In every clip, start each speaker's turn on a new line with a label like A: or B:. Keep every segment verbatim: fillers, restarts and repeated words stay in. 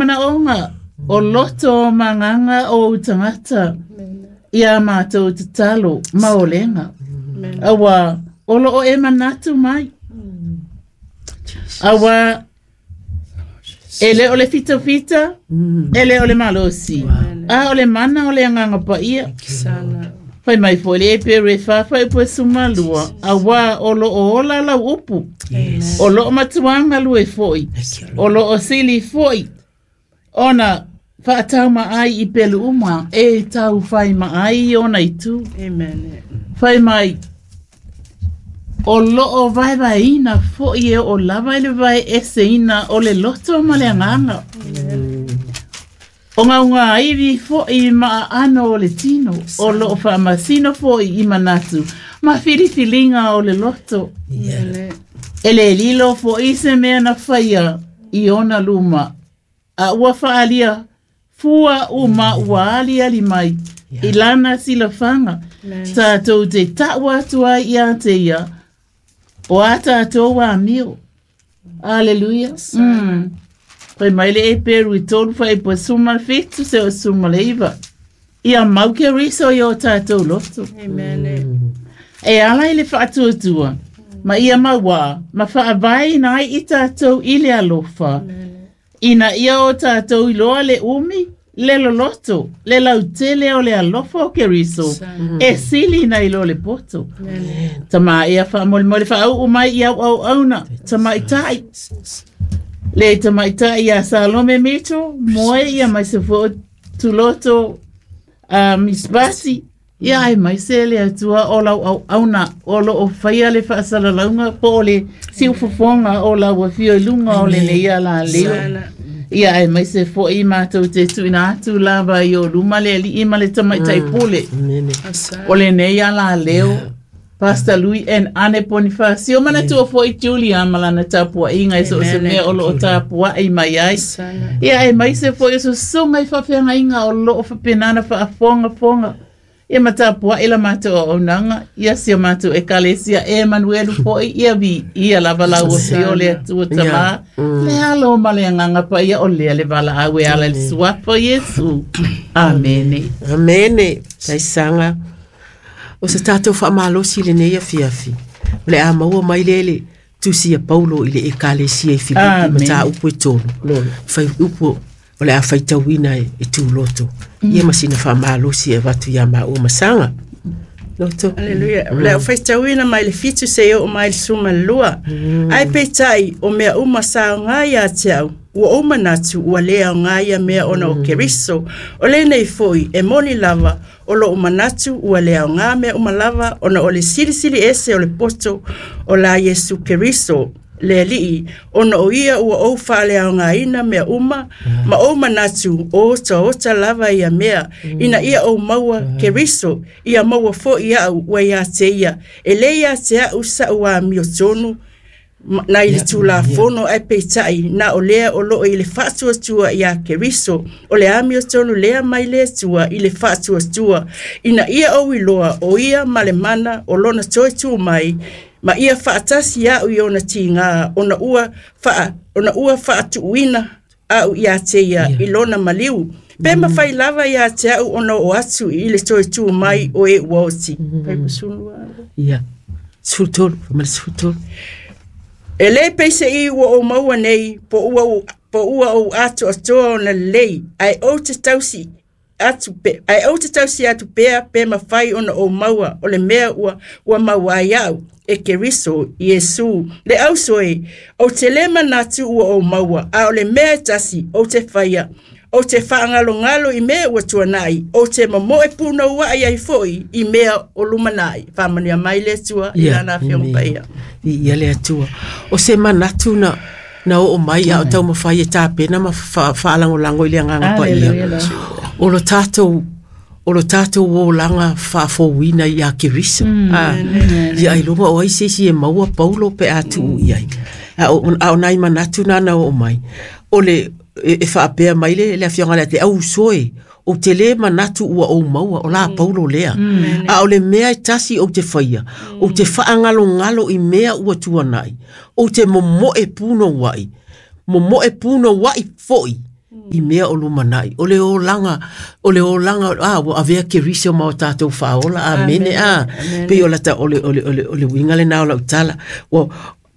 A: manaoga o loto o magaga o ou tagata ia matou tatalo ma olega. Auā o loo e manatu mai. Auā e lē o le fitafita, e lē o le malosi, a o le mana o le agaga paia. Fai mai foi le Eperu e fa fuaiupu e sefulumalua, auā o loo ola lau upu. O loo matuā galue foi. O loo sili foi ona faataumaai i pelu uma e taufai maai i ona itu.
B: Amen.
A: Fai mai o loo vaevaeina foi e oo lava i le vaeeseina o le loto ma le agaga. O gaugāivi foi ma aano o le tino, o loo faamasino foi i manatu ma filifiliga o le loto. E lē lilo foi se mea na faia i ona luma, a ua faaalia fua uma ua aliali mai i lana silafaga. Tatou te taʻu atu ai iā te ia o a tatou amio. Aleluia. Mm. Fai mai le Eperu i tolu fuaiupu e sefulufitu seia oo sefulumaiva. Ia mau Keriso i o tatou loto.
B: Amen.
A: E ala i le faatuatua, ma ia mauā, ma faavaeina ai i tatou i le alofa. Ina ia o tatou iloa le umi, le loloto, le lautele o le alofa o Keriso, e sili nai lo le poto. Tamā ea faamolemole faauu mai i au auauna, tamaitai. Le tamaitai ia Salome Mito, moe ia mai se fo tuloto uh, Miss Basi, ia aemaise le Atua o lau auauna o loo faia le faasalalauga po o le siufofoga o lau afio i luga o lenei alaleo. Ia aemaise foi matou te tuuina atu lava i o luma le alii ma le tamaitai pule o lenei alaleo. Pastor Louis and Ane Bonifacio manatua foi Julia ma lana tapuaiga i so o se mea o loo tapuai mai ai. Ia aemaise foi o susuga i faafeagaiga o loo faapena faafogafoga. Ia ma tapuai la matou auaunaga, ia si o matou ekalesia e Emanuelu foi, ia viia lava lau afio le Atua Tamā, le Alo ma le Agaga Paia o lea le valaau e ala i le suafa o Iesu. Amene.
C: Amene. Taisaga. O se tatou faamalosi i lenei afiafi. O le a maua mai lea le tusi a Paulo i le ekalesia i Filipi
A: Amen.
C: mataupu e tolu. Fai upu o le a faitauina e, e tuloto. Ia ma sina faamalosi e avatu ia maua ma Saga. Loto.
B: Aleluia. O le a faitauina mai le fitu seia oo mai le sefulumalua. Ae peitai o mea uma sa aoga ia te au, ua ou manatu ua lē aoga ia mea ona o Keriso. O lenei foi e moni lava o loo manatu ua le aoga mea uma lava ona o le silisili ese o le poto o la Iesu Keriso le Alii, ona o ia ua ou faaleaogaina mea uma, ma ou manatu o otaota lava ia mea, ina ia ou maua Keriso, ia maua foi au ua ia te ia, e lē ia te au saʻu amiotonu nai le Tulafono, ae peitai na o lea o loo i le faatuatua iā Keriso, o le amiotonu lea mai le Atua i le faatuatua, ina ia ou iloa o ia ma le mana o lona toe tu mai, ma ia faatasi au i ona tigā, ona ua faa, ona ua faatuuina au ia te ia i lona maliu. Pe mafai lava ia te au ona oo atu i le toe tu mai o e ua oti.
C: Ia. Sefulu tolu, ma le sefulu tolu.
B: E lē peiseai ua ou maua nei po ua po ua ou atoatoa ona lelei, ae ou te tausi atu pe, ae ou te tausi atu pea pe mafai ona ou maua o le mea ua, ua maua ai au e Keriso Iesu. Le auso e, ou te lē manatu ua ou maua, a o le mea e tasi ou te faia, ou te faagalogalo i mea ua tuanai, ou te momoe punouai ai foi i mea o lumanai. Faamanuia mai le Atua i lana afioga paia.
C: Ia le Atua. O se manatu na na oo mai a o taumafai e tapena ma faalagolago i le agaga paia. O lo tatou o lo tatou olaga faafouina ia Keriso. Ah, ia ailoga o ai se isi e maua Paulo pe a tuu i ai. A o, a o nai manatu na na oo mai. O le e, e faapea mai le, le afioga le te au soe, o te lē manatu ua ou maua o la Paulo lea. A o le mea e tasi ou te faia, ou te faagalogalo i mea ua tuanai, ou te momoe punouai, momoe punouai foi I mea o lumanai o le olaga o le olaga a ua avea Keriso ma o tatou faaola. Amene. A pei o lata o le o le o le o le uiga lenā o lau tala ua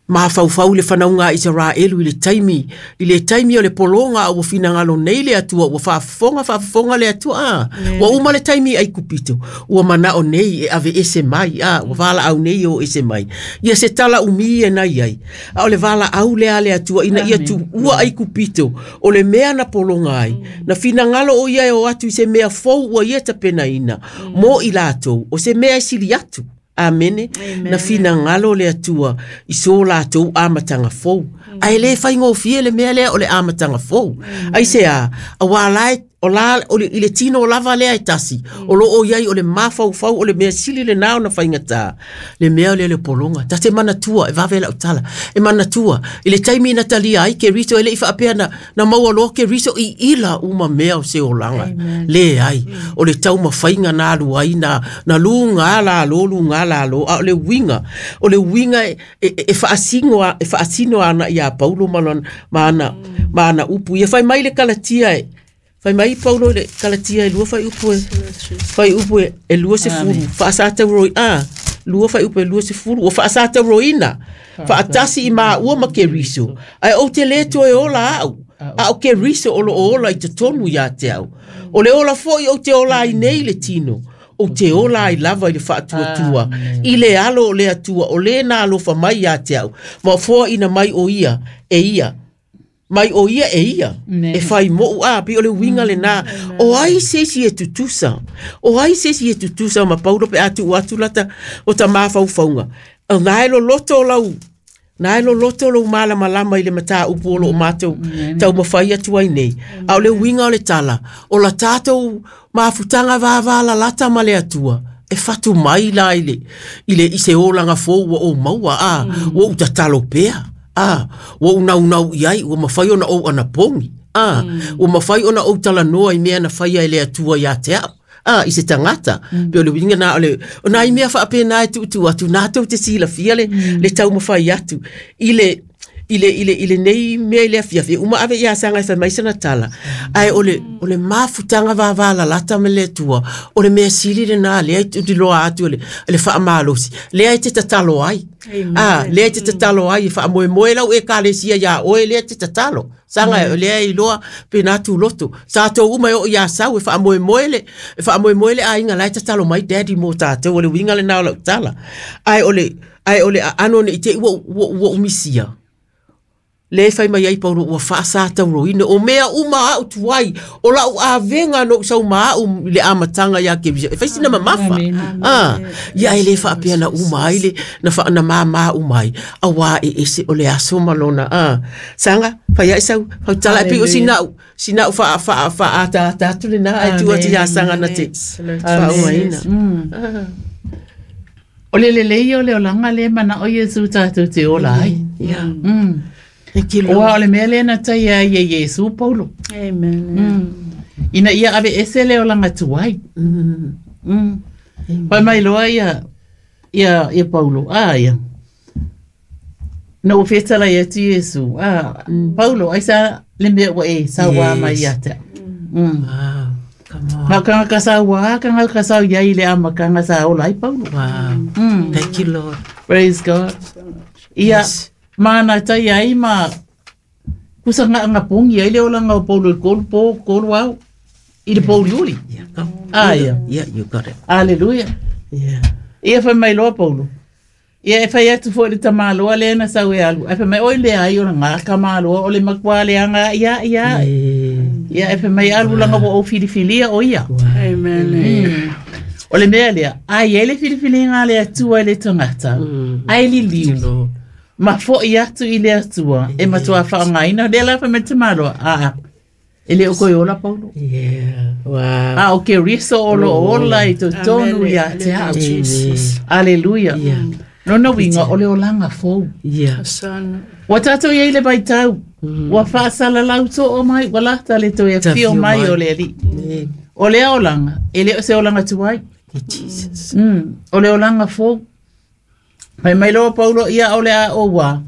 C: mafaufau i le fanauga a Isaraelu i le taimi i le taimi o le pologa a ua finagalo nei le Atua ua faafofoga faafofoga le Atua a ua uma le taimi i Aikupito ua manao nei e ave ese mai a ua valaau nei o ese mai ia se tala umi e nai ai a o le valaau lea a le Atua ina ia tuua Aikupito o le mea na pologa ai na finagalo o ia e o atu i se mea fou ua ia tapenaina mo i latou o se mea e sili atu. Amene. Na finagalo le Atua i so latou amataga fou. Ae le faigofie le mea lea o le amataga fou. Ai se a, auā la e o la o le, i le tino lava lea e tasi o lo o iai o le mafaufau o le mea sili lenā ona faigata le mea lea o le pologa ta te manatua e vave lau tala e manatua i le taimi na talia ai Keriso e le'i faapea na, na maua loa Keriso i ila uma mea o se olaga leai o le taumafaiga na alu ai na, na luga lalo luga lalo a o le uiga o le uiga e, e, e faasino e faasino ana iā Paulo ma lona ma ana ma ana upu ia fai mai le Kalatia e fai mai Paulo le Kalatia e lua fai upu e fai upu e, e lua sefulu faasatauroina a lua fai upu e lua sefulu ua faasatauroina faatasi i maua ma Keriso ae ou te lē toe ola a'u a o Keriso o loo ola i totonu iā te au o le ola fo'i ou te ola ai nei le tino ou te ola ai lava i le faatuatua i le alo o le Atua o lē na alofa mai iā te au ma foaʻina mai o ia e ia mai o ia e ia e fai moʻu a pei o le uiga lenā o ai se isi e tutusa o ai se isi e tutusa ma Paulo pe a tuu atu lata o ta mafaufauga o na e loloto o lau na e loloto lou malamalama i le mataupu o loo matou taumafai atu ai nei a o le uiga o le tala o la tatou mafutaga vavalalata ma le Atua e fatu mai la i le i le i se olaga fou ua ou maua a ua ou tatalo pea a ua ou naunau i ai ua mafai ona ou anapogi a ua mafai ona ou talanoa i mea na faia e le Atua iā te a'u a i se tagata pe o le uiga na o le o nai mea faapena e tuutuu atu natou te silafia le le taumafai atu i le i le i le i lenei mea i le afiafi uma ave iā Saga e fai mai sana tala ae o le o le mafutaga vavalalata ma le Atua o le mea sili lenā lea e tuliloa atu o le le faamalosi lea e te tatalo ai a lea e te tatalo ai e faamoemoe lau ekalesia iā oe lea te tatalo Saga lea e iloa pena tuloto sa tou uma e oo iā sau e faamoemoe le e faamoemoe le aiga la e tatalo mai daddy mo tatou o le uiga lenā o lau tala ae o le ae o le aano nei te i ua ua ua umisia le fai mai ai Paulo ua faasatauroina o mea uma a'u tuai o la'u avega no sau ma a'u i le amataga iā Keriso e fai sina mamafa a ia e lē faapea na uma ai le na fa na māmā uma ai auā e ese o le aso ma lona a Saga fai aʻe sau fautala e pei o sina'u sina'u faa faa faaataata atu lenā ae tuu atu iā Saga na te faaumaina.
A: O le lelei o le olaga lea manao Iesu tatou te ola ai.
C: Yeah.
A: Mm.
C: Thank you,
A: Ua
C: Lord.
A: o le mea lea na taia ai e Iesu Paulo.
B: Amen.
A: Mm. Ina ia ave ese le olaga tuai.
C: Mm.
A: Mm. Fai mai loa ia ia ia Paulo. Ah ia. Na ua fetalai atu Iesu. Ah Paulo ai sa le mea ua e sauā mai
C: Yes.
A: ia te. Mm.
C: Wow. Come on.
A: Ma kanga ka sauā, kanga ka sau iai le amakaga sa ola ai Paulo.
C: Wow.
A: Mm.
C: Thank you, Lord.
A: Praise God. Ia
C: Yes.
A: mana tai ai ma kusa nga nga pongi ai le olaga o Paulo i kolu po kolu au i le pouliuli.
C: Yeah, go.
A: Ah, yeah.
C: Yeah, you got it.
A: Hallelujah.
C: Yeah.
A: Ia fai mai loa Paulo. Ia e fai atu foi le tamāloa lea na sau e alu. Ai fai mai oi le ai o le ngā kamāloa o le makua le anga ia ia.
C: Yeah.
A: Ia e fai mai alu langa ua ou filifilia o ia.
C: Wow.
B: Amen.
A: Mm. O le mea lea, ai e le filifiliga le Atua i le tagata.
C: Mm.
A: Ai liliu.
C: Lord.
A: Ma fo'i atu i le Atua e matua faaaogaina lea la fai mai le tamāloa. Aa, e le o koe ola Paulo.
C: Yeah. Wow.
A: A o Keriso o lo ola i totonu ia te a'u.
B: Jesus.
A: Aleluia.
C: Yeah.
A: Lona uiga o le olaga fou.
C: Yeah.
B: Son.
A: Ua tatou iai le vaitau. Ua faasalalau too mai, ua lata le toe
C: Tafio
A: afio mai
C: mai.
A: o le Alii.
C: Amen.
A: O lea olaga, e le o se olaga tuai.
C: Thank you, Jesus.
A: Mm, o le olaga fou. Mai mai loa Paulo ia o le a o ua.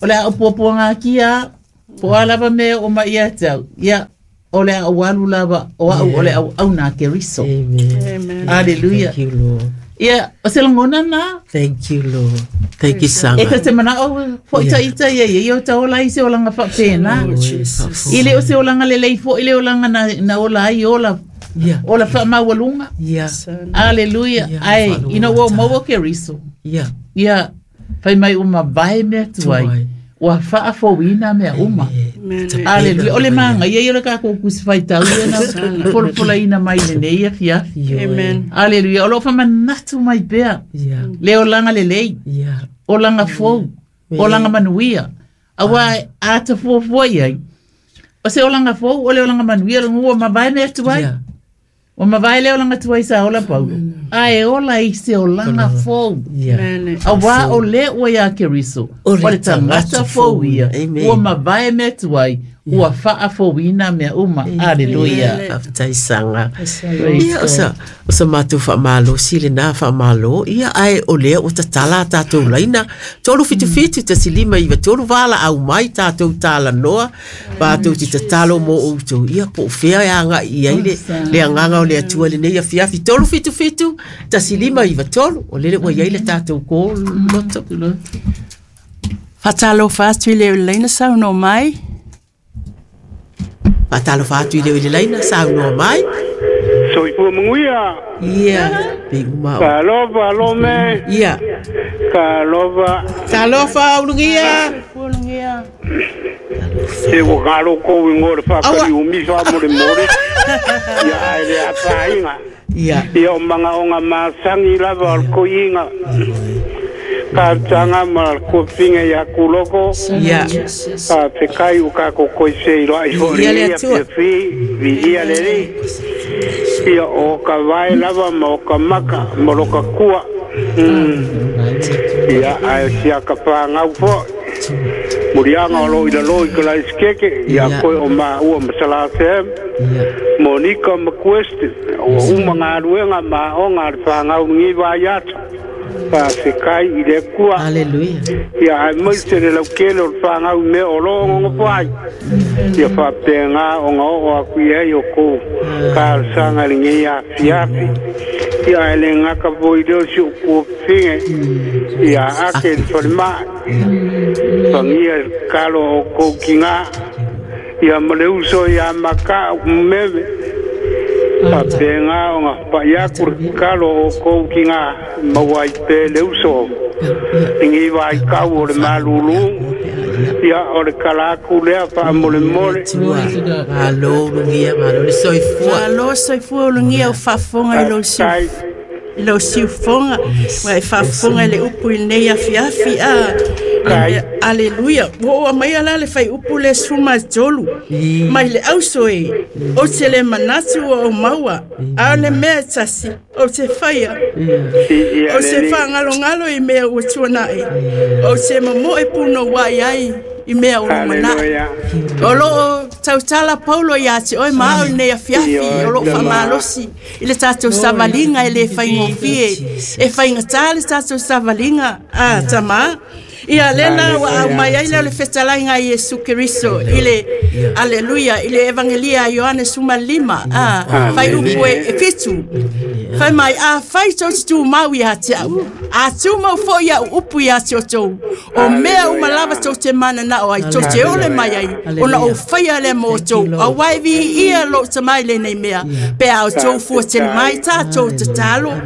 A: O le a o puapuaga akia, Po a lava me o mai ia tau. Ia, o le au alu lava, o au o le au au nā Keriso.
C: Amen.
B: Amen.
A: Hallelujah.
C: Thank you, Lord.
A: Ia, o se langona nā.
C: Thank you, Lord. Thank you, Sanga.
A: E ta te mana o fo ita ita ia ia o ta ola i se olanga whapena.
B: Oh, Jesus.
A: I le o se olanga lelei fo i le olanga na, na ola ai ola.
C: Yeah.
A: Ola wha maualunga.
C: Yeah.
A: Hallelujah.
C: Yeah,
A: Ai,
C: whaalunga
A: ina ua
C: tā.
A: maua Keriso.
C: Yeah.
A: Ia, whai mai uma vai mea tuai.
C: Tuai.
A: Ua whaafowina mea uma.
B: Amen.
A: Hallelujah. O le manga, ia ia le kako kusi whaitau ia na polopola ina mai le nei a fiafi.
B: Amen.
A: Hallelujah. O lo whamanatu mai pea.
C: Yeah.
A: Le olanga le lei.
C: Yeah.
A: Olanga fou. Olanga manuia. Awa ata fuafua iai. O se olanga fou, o le olanga manuia, ua mavae mea tuai.
C: Yeah.
A: O mavae le olanga tuai sa ola Paulo. Ae ola i se olanga fou.
C: Yeah.
B: Amen.
A: Awa o le ua ia Keriso.
C: O le
A: O le tangata fou ia.
C: Amen.
A: Ua mavae mea tuai. Ua whaafouina mea uma. Hallelujah.
C: Whaftai Sanga.
A: Praise
C: Ia, o sa, o sa mātou whaamalo, si le nā whaamalo, ia ai o lea o tatala tātou laina. Tolu fitu fitu, tasi lima iwa, tolu wala au mai tātou tāla noa, pātou ti tatalo mō outou. Ia, po whea e anga i ai le, le anganga o le atua le nei a fiafi. Tolu fitu fitu, tasi lima iwa, tolu, o lele ua iai le tātou kō loto.
B: Whatalo whātu i le ulaina sau no mai.
C: Whatalo whātu i le ule laina sau noa mai.
D: Soifua manguia.
C: Ia, pe uma o.
D: Ka alofa lome.
C: Ia.
D: Ka alofa.
C: Talofa ulungia.
B: Ulungia.
D: Se ua kalo kou i ngore whakari umisa mo le more. Ia ai le apainga.
C: Ia.
D: Ia o manga o ngā masangi lava o le koiinga. Ka tanga ma le kuapinga ia kuloko.
C: Ia.
D: Ka fekai u ka kokoi se i roa i fo
C: Ia le
D: ia
C: Atua.
D: fiafi, vi ia le lei. Ia o ka vae lava ma o ka maka, ma lo ka kua. Mm. Ia ai sia ka pāngau fo. Murianga o lo i la lo i ka lai skeke, ia
C: Ia.
D: koe o ma ua masala se.
C: Ia.
D: Monika McQuest, o uma ngā ruenga ma o ngā whāngau ngi vai atu. Pa fekai i le kua.
C: Hallelujah.
D: Ia ai mai se le laukele o le whāngau me o lo ngongo pai. Ia whapengā o ngā o aku i ai o kou kārsanga le ngei a fiafi. Ia ai le ngaka voi leo si o kua pinge. Ia ake le wharimai. Whangia kalo o kou ki ngā. Ia ma le uso ia maka o meme. Whapengā o ngā whaiaku le kalo o kou ki ngā mawai pe le uso. Ngi vai kau o le malulu. Ia o le kalaku lea wha mole mole.
C: Tua. Malo ulungia, malo le soifua.
B: Malo soifua ulungia o whaafonga i lo siu. I lo siufonga. Wa e whaafonga i le upu i nei afiafi a.
D: Kai.
B: Aleluia. Ua ua mai ala le whai upu le suma tolu. Mai le auso e. O te le manatu o o maua. A o le mea tasi. O te whaia.
D: Ia
B: O se
D: le
B: whangalongalo i mea ua tuanae. O se mamoe puno wai ai i mea o lumanae.
D: Hallelujah.
B: O loo tautala Paulo ia te oe maa o nei afiafi o loo whamalosi i le tātou savalinga e le whaingofie. E whaingatā le tātou savalinga a tamā. Ia lena wa au mai ai leo le fetalaiga a Iesu Keriso i le Aleluia i le Evangelia a Ioane suma lima a fai upu e e fitu. Fai mai a fai tau te tūmau ia te au. A tūmau fo ia upu ia te o tau. O mea uma lava tau te mana na o ai tau te ole mai ai. Ona o whaia le mō tau. A wai vi ia lo te mai le nei mea. Pe au tau fua te mai tā tau te talo.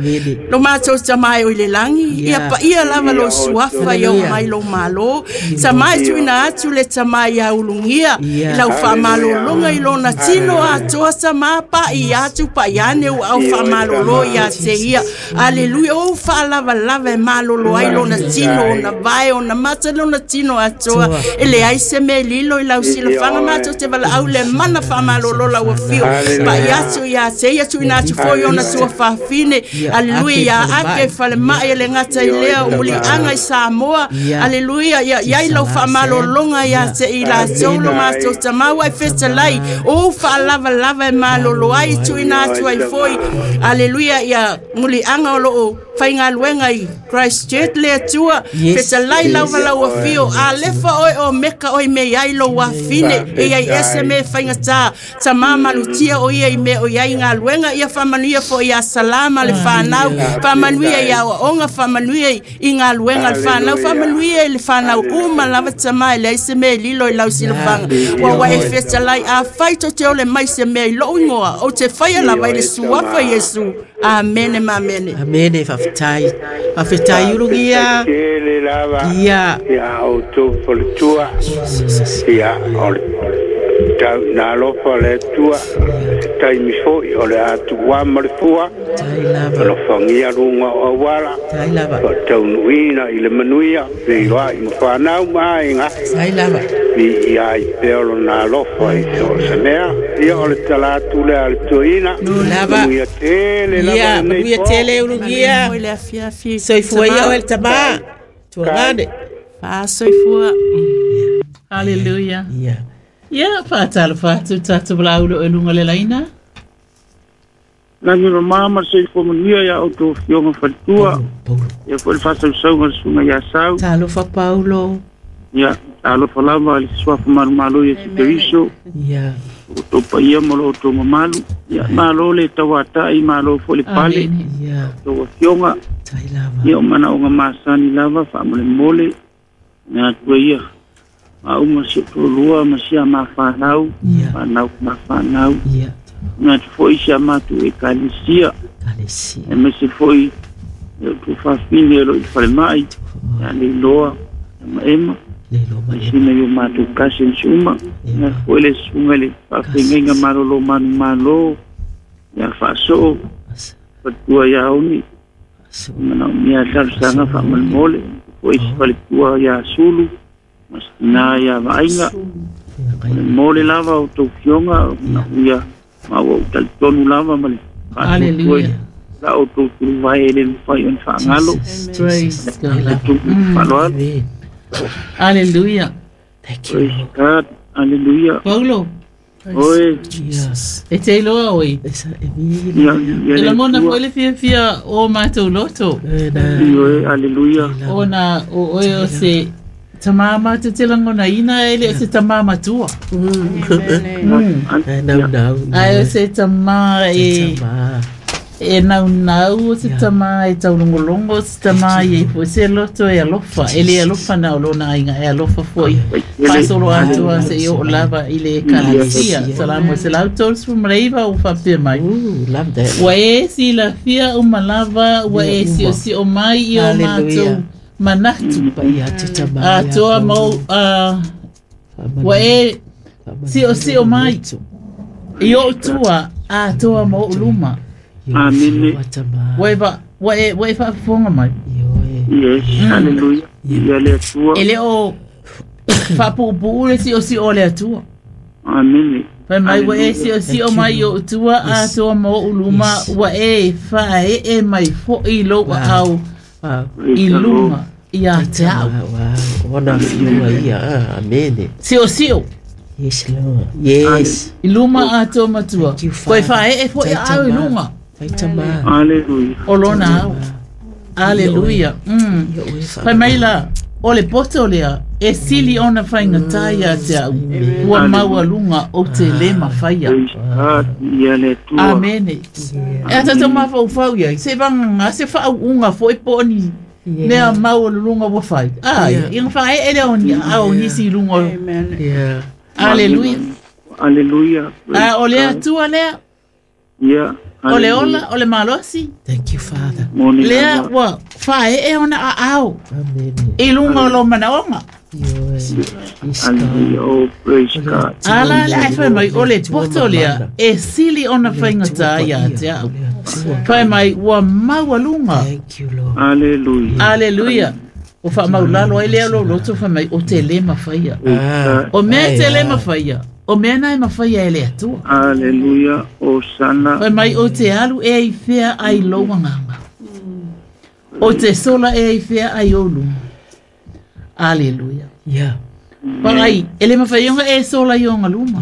B: Lo mātou te mai o i le langi. Ia pa ia lava lo suafa ia o mai lo malo. Ta mai tuina atu le ta mai ia ulungia. I lau whamalolonga i lona tino a toa ta mapa i atu pa iane u au whamalolo ia te ia. Aleluia. O whaalava lava e malolo ai lona tino o na vai o na mata lona tino a toa. E le ai se me lilo i lau sila whanga mātou te wala au le mana whamalolo lau whio. Pa i atu ia te ia tuina atu foi ona tua whawhine. Aleluia ia ake whale mai e le ngata i lea o muli anga i Samoa. Aleluia ia ia i lau whamalolonga ia te i la taulo mātou tamaua e fetalai. O whaalava lava e malolo ai tuina atu ai foi. Aleluia ia muli anga o loo Faigaluega i Christchurch le Atua fetalai lava lau afio alefa oe o meka oe me iai lou afine e iai ese me faigatā tamā malutia o ia i mea o iai galuega ia faamanuia foʻi iā Salama le fanau faamanuia i aoaoga faamanuia i galuega le fanau faamanuia i le fanau uma lava tamā e leai se mea e lilo i lau silafaga ua ua e fetalai afai tou te ole mai se mea i lou igoa ou te faia lava i le suafa Iesu. Amene ma amene.
C: Amene faafetai. Faafetai ulugia.
D: Tele lava.
C: Ia.
D: Ia o tō faletua. Ia o le tau nā alofa le Atua. Taimi foi o le atua ma le fua.
C: Tai lava.
D: Alofagia luga o auala.
C: Tai lava.
D: Faataunuuina i le manuia. Feiloai ma fanau ma aiga.
C: Tai lava.
D: I ai pea o lona alofa i so o se mea. Ia o le tala atu lea a le toeaina.
C: Lava.
D: Manuia tele lava
C: Ia,
D: lenei
C: manuia
D: po.
C: tele ulugia.
B: Foi le afiafi.
C: Soifua ia oe le tamā. Tuagane.
B: Faasoifua.
A: Hallelujah.
C: Ia.
A: Ia, faatalofa atu tatou laulo e luga le laina.
E: Lagi mama ma soifua manuia ia outou afioga faletua.
C: Paulo.
E: Ia foi le faasausauga le susuga iā Sau.
C: Talofa Paulo.
E: Ia, talofa lava i le suafa malomalo Iesu Keriso.
C: Ia.
E: Outou paia ma lo outou mamalu. Ia, malo le tauata'i, malo foi le pale.
A: Amene.
C: Ia.
E: Outou afioga.
C: Tai lava.
E: Ia o manaoga masani lava faamolemole. Na atua ia. Mauma si o toalua ma sia mafanau.
C: Ia.
E: Fanau mafanau.
C: Ia.
E: Na atu foi si a matou ekalesia.
C: Kalesia.
E: E maise foi e o tuafafine e lo i falemai. Ia leiloa. Ia maema.
C: Leilo ma ema.
E: Sina i o matou cousins uma. Na foi le susuga i le faafeagaiga malolo manumalo. Ia faasoo.
C: Asa.
E: Faletua ia Oni.
C: Aso.
E: Manaomia talosaga faamolemole. Foi se faletua ia Sulu. Ma se tinā ia Vaaiga.
C: Ia.
E: Mole lava o tou fioga. Manaomia ma ua ou talitonu lava ma le faatuatua
A: Hallelujah.
E: la outou tuluvae e le mafai ona faagalo.
A: Praise God.
E: Faaloalo.
C: Amen.
A: Hallelujah.
C: Thank you.
E: Praise God. Hallelujah.
A: Paulo,
E: Oe.
C: Jesus.
A: e te iloa oe.
C: Esa e
E: Ia, ia
A: E
E: le
A: lagona
E: Atua.
A: foi le fiafia o matou loto.
C: E na.
E: Ioe, hallelujah.
A: Ona o oe o se tamā matou te lagona ina e le o se tamā matua.
C: E nau nau.
A: Ai o se tamā e
C: Tama.
A: e naunau o se tamā e taulogologo o se tamā e foi se loto e alofa. E le alofa na o lona aiga e alofa foi. Faasolo atoa seia oo lava i le ekalesia. Salamo e selau tolusifu ma le iva ua faapea mai.
C: Ooh, love that.
A: Ua e silafia uma lava, ua e siosio mai i o matou manatu.
C: Paia atu tama. ia
A: Atoa
C: Paulo.
A: ma ou, ah, ua e siosio mai i ou tua atoa ma ou luma.
C: Ioe,
E: Amene.
C: fioga tama.
A: Ua e va- ua e ua e faafofoga mai.
C: Ioe.
E: Yes, hallelujah. Ia le Atua.
A: E le o faapuupuu le siosio o le Atua.
E: Amene.
A: Fai mai ua e siosio mai i ou tua atoa ma ou luma
C: Yes.
A: ua e faaee mai foʻi lou aao
C: Wow.
A: i luma ia te au.
C: Wow. Ona fioga ia. Ah, Amene.
A: Siosio
C: Yes, Lord. Yes.
A: i luma atoa matua.
C: Thank you,
A: Koe
C: Father.
A: faaee foʻi
C: Tai
A: aao i
C: tama.
A: luga
C: Tai tama.
E: Hallelujah.
A: o lona ao. Aleluia. Mm.
C: Ioe,
A: Fai mai la, o le poto lea, e sili ona faigata ia te au. Ua maualuga o te le mafaia.
E: Praise God. Ia le Atua.
A: Amene. E a tatou mafaufau iai, se vagaga se faauuga foʻi po o ni mea maualuluga ua fai. Ai,
C: Yeah.
A: iga faaee lea o ni aao nisi i luga o.
B: Amen.
C: Yeah.
A: Aleluia.
E: Hallelujah. Praise
A: A o le
E: God.
A: Atua lea,
E: Ia.
A: o le ola, o le malosi,
C: Thank you, Father.
E: Moni
A: lea
E: lava.
A: ua faaee ona aao
C: Amene.
A: i luga o lo manaoga.
C: Ioe. Yes, God.
E: Hallelujah. Oh, praise God.
A: Ala le ai fai mai o le poto lea e sili ona faigata ia te au. Fai mai ua maualuga.
C: Thank you, Lord.
E: Hallelujah.
A: Aleluia. O faamaulalo ai lea lou loto fai mai o te le mafaia.
C: Ah,
A: O mea
C: ai,
A: te le
C: ah.
A: mafaia. O mea na e mafaia e le Atua.
E: Hallelujah. Hosanna.
A: Fai mai o te alu e i fea ai lou agaga. O te sola e i fea ai ou luma. Aleluia.
C: Yeah.
A: Pagai, ele mawhaionga e sola i o luma.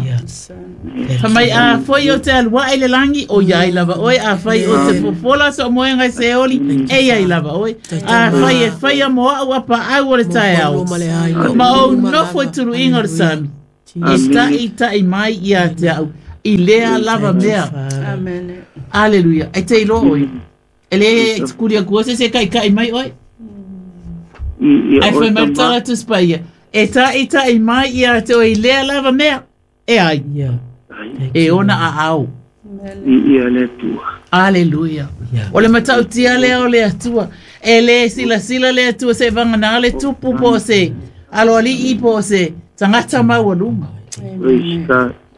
A: Fa mai a foi o te alua e le langi o iai lava oe, a fai o te fofola so moenga se oli, e iai lava oe. A fai e fai a moa au apa au o le tae au. Ma o nofo e turu inga o le sami. E tai tai mai ia te au. I lea lava mea.
B: Amen.
A: Aleluia. E te iloa oe. Ele kuria kua se se kai kai mai oe. Ai fai mai tala tu spaia. E tai tai mai ia te oe i lea lava mea. E ai. E ona a au.
E: Ia le atua.
A: Aleluia. O le matautia lea o le atua. E le sila sila le atua se vangana le tupu po se. Alo ali po se. Tangata maualunga.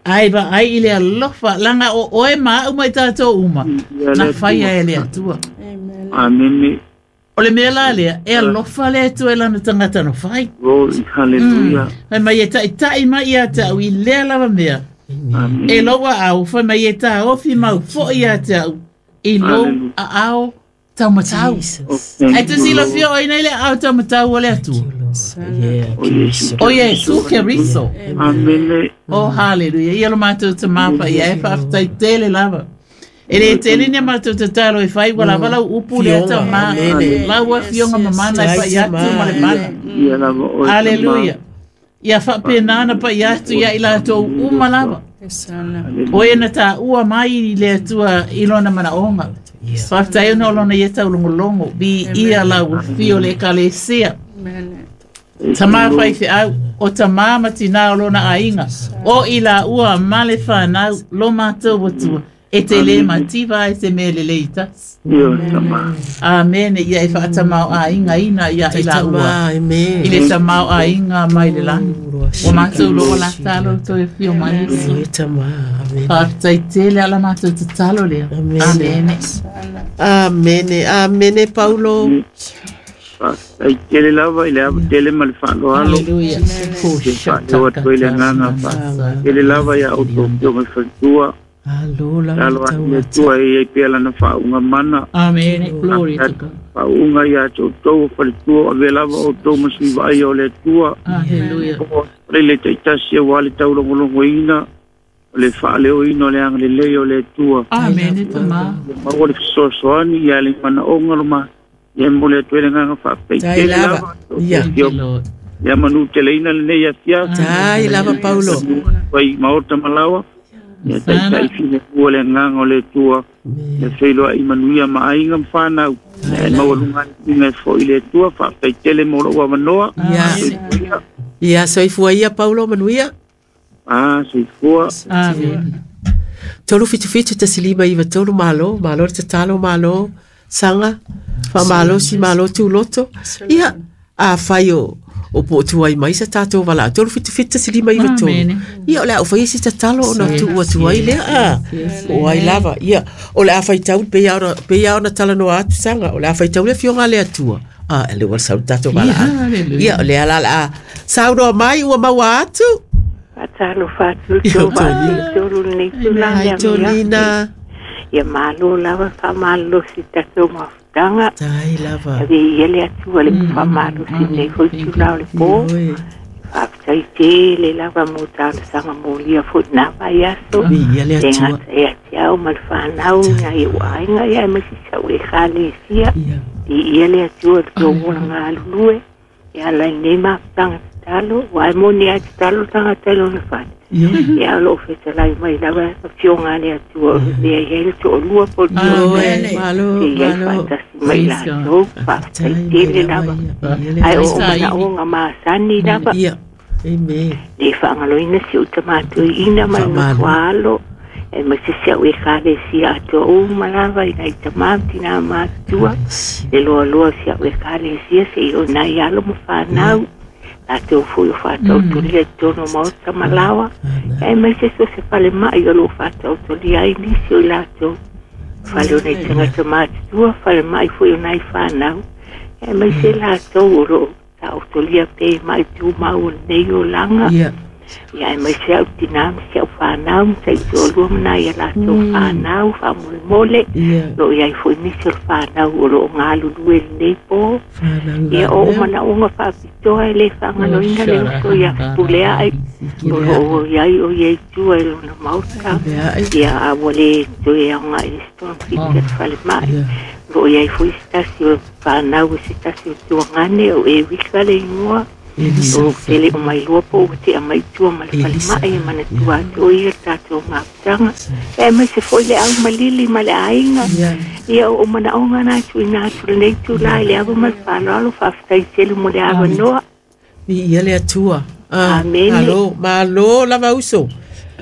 A: Ai va ai i le alofa. Langa o oe ma au mai tātou uma. Na whaia e le atua.
E: Amen.
A: O le mea la lea, e alofa le atua e lana tangata no whai.
E: Glory, hallelujah.
A: Fai mai e tai tai mai ia te au i lea lava mea.
E: Amen.
A: E loa au, fai mai e tā ofi mau fo ia te au. I lou a au tau matau. Ai te sila fia o ina le au tau matau o le atua. O Iesu Keriso.
E: Amen.
A: Oh, hallelujah. Ia lo mātou te mapa ia e whaaftai tele lava. E le tele ni mātou te talo e whai wala wala upu le ata ma. Laua fionga mamana e whai atu ma le mana. Hallelujah. Ia whapenana pa ia atu ia i lātou uma lava. O e na tā ua mai i le atua i lona mana onga. Whaaftai ona o lona ia tau longolongo. Bi ia lau fio le kalesia. Tama whai whiau o tama matina o lona ainga. O i la ua male whanau lo mātou watua. E te le mativa e te mele leitas. Amen. Ia e whaatamau ainga ina ia i la ua. I le tamau ainga mai le langi. O mātou lo la talo to e whio mai. Whaatai tele ala mātou te talo lea. Amen.
C: Amen. Amen, Paulo.
E: Ai tele lava i le ava tele ma le whaaloalo.
A: Hallelujah.
E: Whaaloa toi le nganga wha. Tele lava ia auto pio mai whantua. Alo a le tua e ei pia lana whaunga mana.
A: Amen. Glory to God.
E: Whaunga ia tau tau whaletua. Ave lava o tau masiwa ai o le tua.
A: Hallelujah.
E: Le taitasi e wale tau longolongo ina. O le whaaleo ina o le anga le lei o le tua.
A: Amen.
E: Maua le fisoasoani ia le mana onga loma. Ia mo le atu ele nganga whaapei.
C: Tai lava. Ia.
E: Ia manu tele ina le nei atia.
C: Tai lava, Paulo.
E: Wai maota malawa. Ia tai tai fine kua le nganga o le tua. Ia wheiloa i manuia ma ainga mwhanau. Ia maua lunga inga fo i le tua. Whaapei tele mo lo manoa.
C: Ia. Ia, soifua ia, Paulo, manuia.
E: Ah, soifua.
A: Amen.
C: Tolu fitu fitu tasilima iwa tolu malo. Malo te talo malo. Sanga. Whamalo si malo tūloto. Ia, a whai o, o po tuai mai sa tātou wala. Tolu fitu fitu si lima iwa tolu. Ia, o le au whai si tatalo o na tua tuai lea. A, o ai lava. Ia, o le a whai tau, pe ia ona talanoa atu sanga. O le a whai tau le fionga lea tua. A, e le wala sau tātou wala. Ia, o le ala la a. Saunoa mai ua maua atu.
F: Atalo whātu tō wātu tōru nei tūlanga.
C: Ai tōnina.
F: Ia malo lava whamalo si tātou mafutanga.
C: Tai lava.
F: Ave ia le atua le whamalo si nei hoi tūlau le pō. Whaapatai tele lava mō tālasanga mō lia fo nā vai aso.
C: Ia le atua.
F: Te ngata e ate au ma le whanau ngā i uainga ia e masi sau e khalesia. I ia le atua le tō wala ngā alulue. Ia lai nei mafutanga talo. Wai moni a te talo tanga talo na whate. Ia lo whetalai mai lawa fionga le atua lea i hele to olua po
C: Malo, malo,
F: te iai whaatasi mai la tau whaatai tele lava. Ai o mana onga maasani lava.
C: Ia, amen.
F: Le whaangaloina si uta mātui ina mai no tualo. E masisi au e kale si atua o malava i nai tamamti nā mātua. Le loa loa si au e kale si se i o nai alo mo whanau. La te ofo i whātau tolia i tono maota malawa. E mai se so se whale mai o lo whātau tolia ai nisi o lātou. Whale o nei tangata mātua, whale mai fo i o nai whanau. E mai se lātou o lo tāu tolia pe mai tū mau o nei o langa. Ia e mai se au tina ma si au whanau ma sa i tōlua mana ia lātou whanau whaamolemole lo ia i foi nisi o le whanau o lo o ngā lulue lenei pō. Ia o o manaoga faapitoa e lē faagaloina le uso ia pulea ai o lo o iai o ia i tua i lona maota. Ia a ua lē toe aogaʻi le se togafiti a le falemaʻi o lo o iai foi se tasi o whanau se tasi o tuagane o e wika le ingoa o tele o mai lua po o te a mai tua ma le falemai e manatua atu o ia le tatou mafutaga e mai se foi le au malili ma le aiga ia o manaoga na tuuina atu lenei tula i le ava ma le faaaloalo faafetai tele mo le avanoa.
C: Viia le Atua.
F: Amene.
C: Malo, malo lava uso.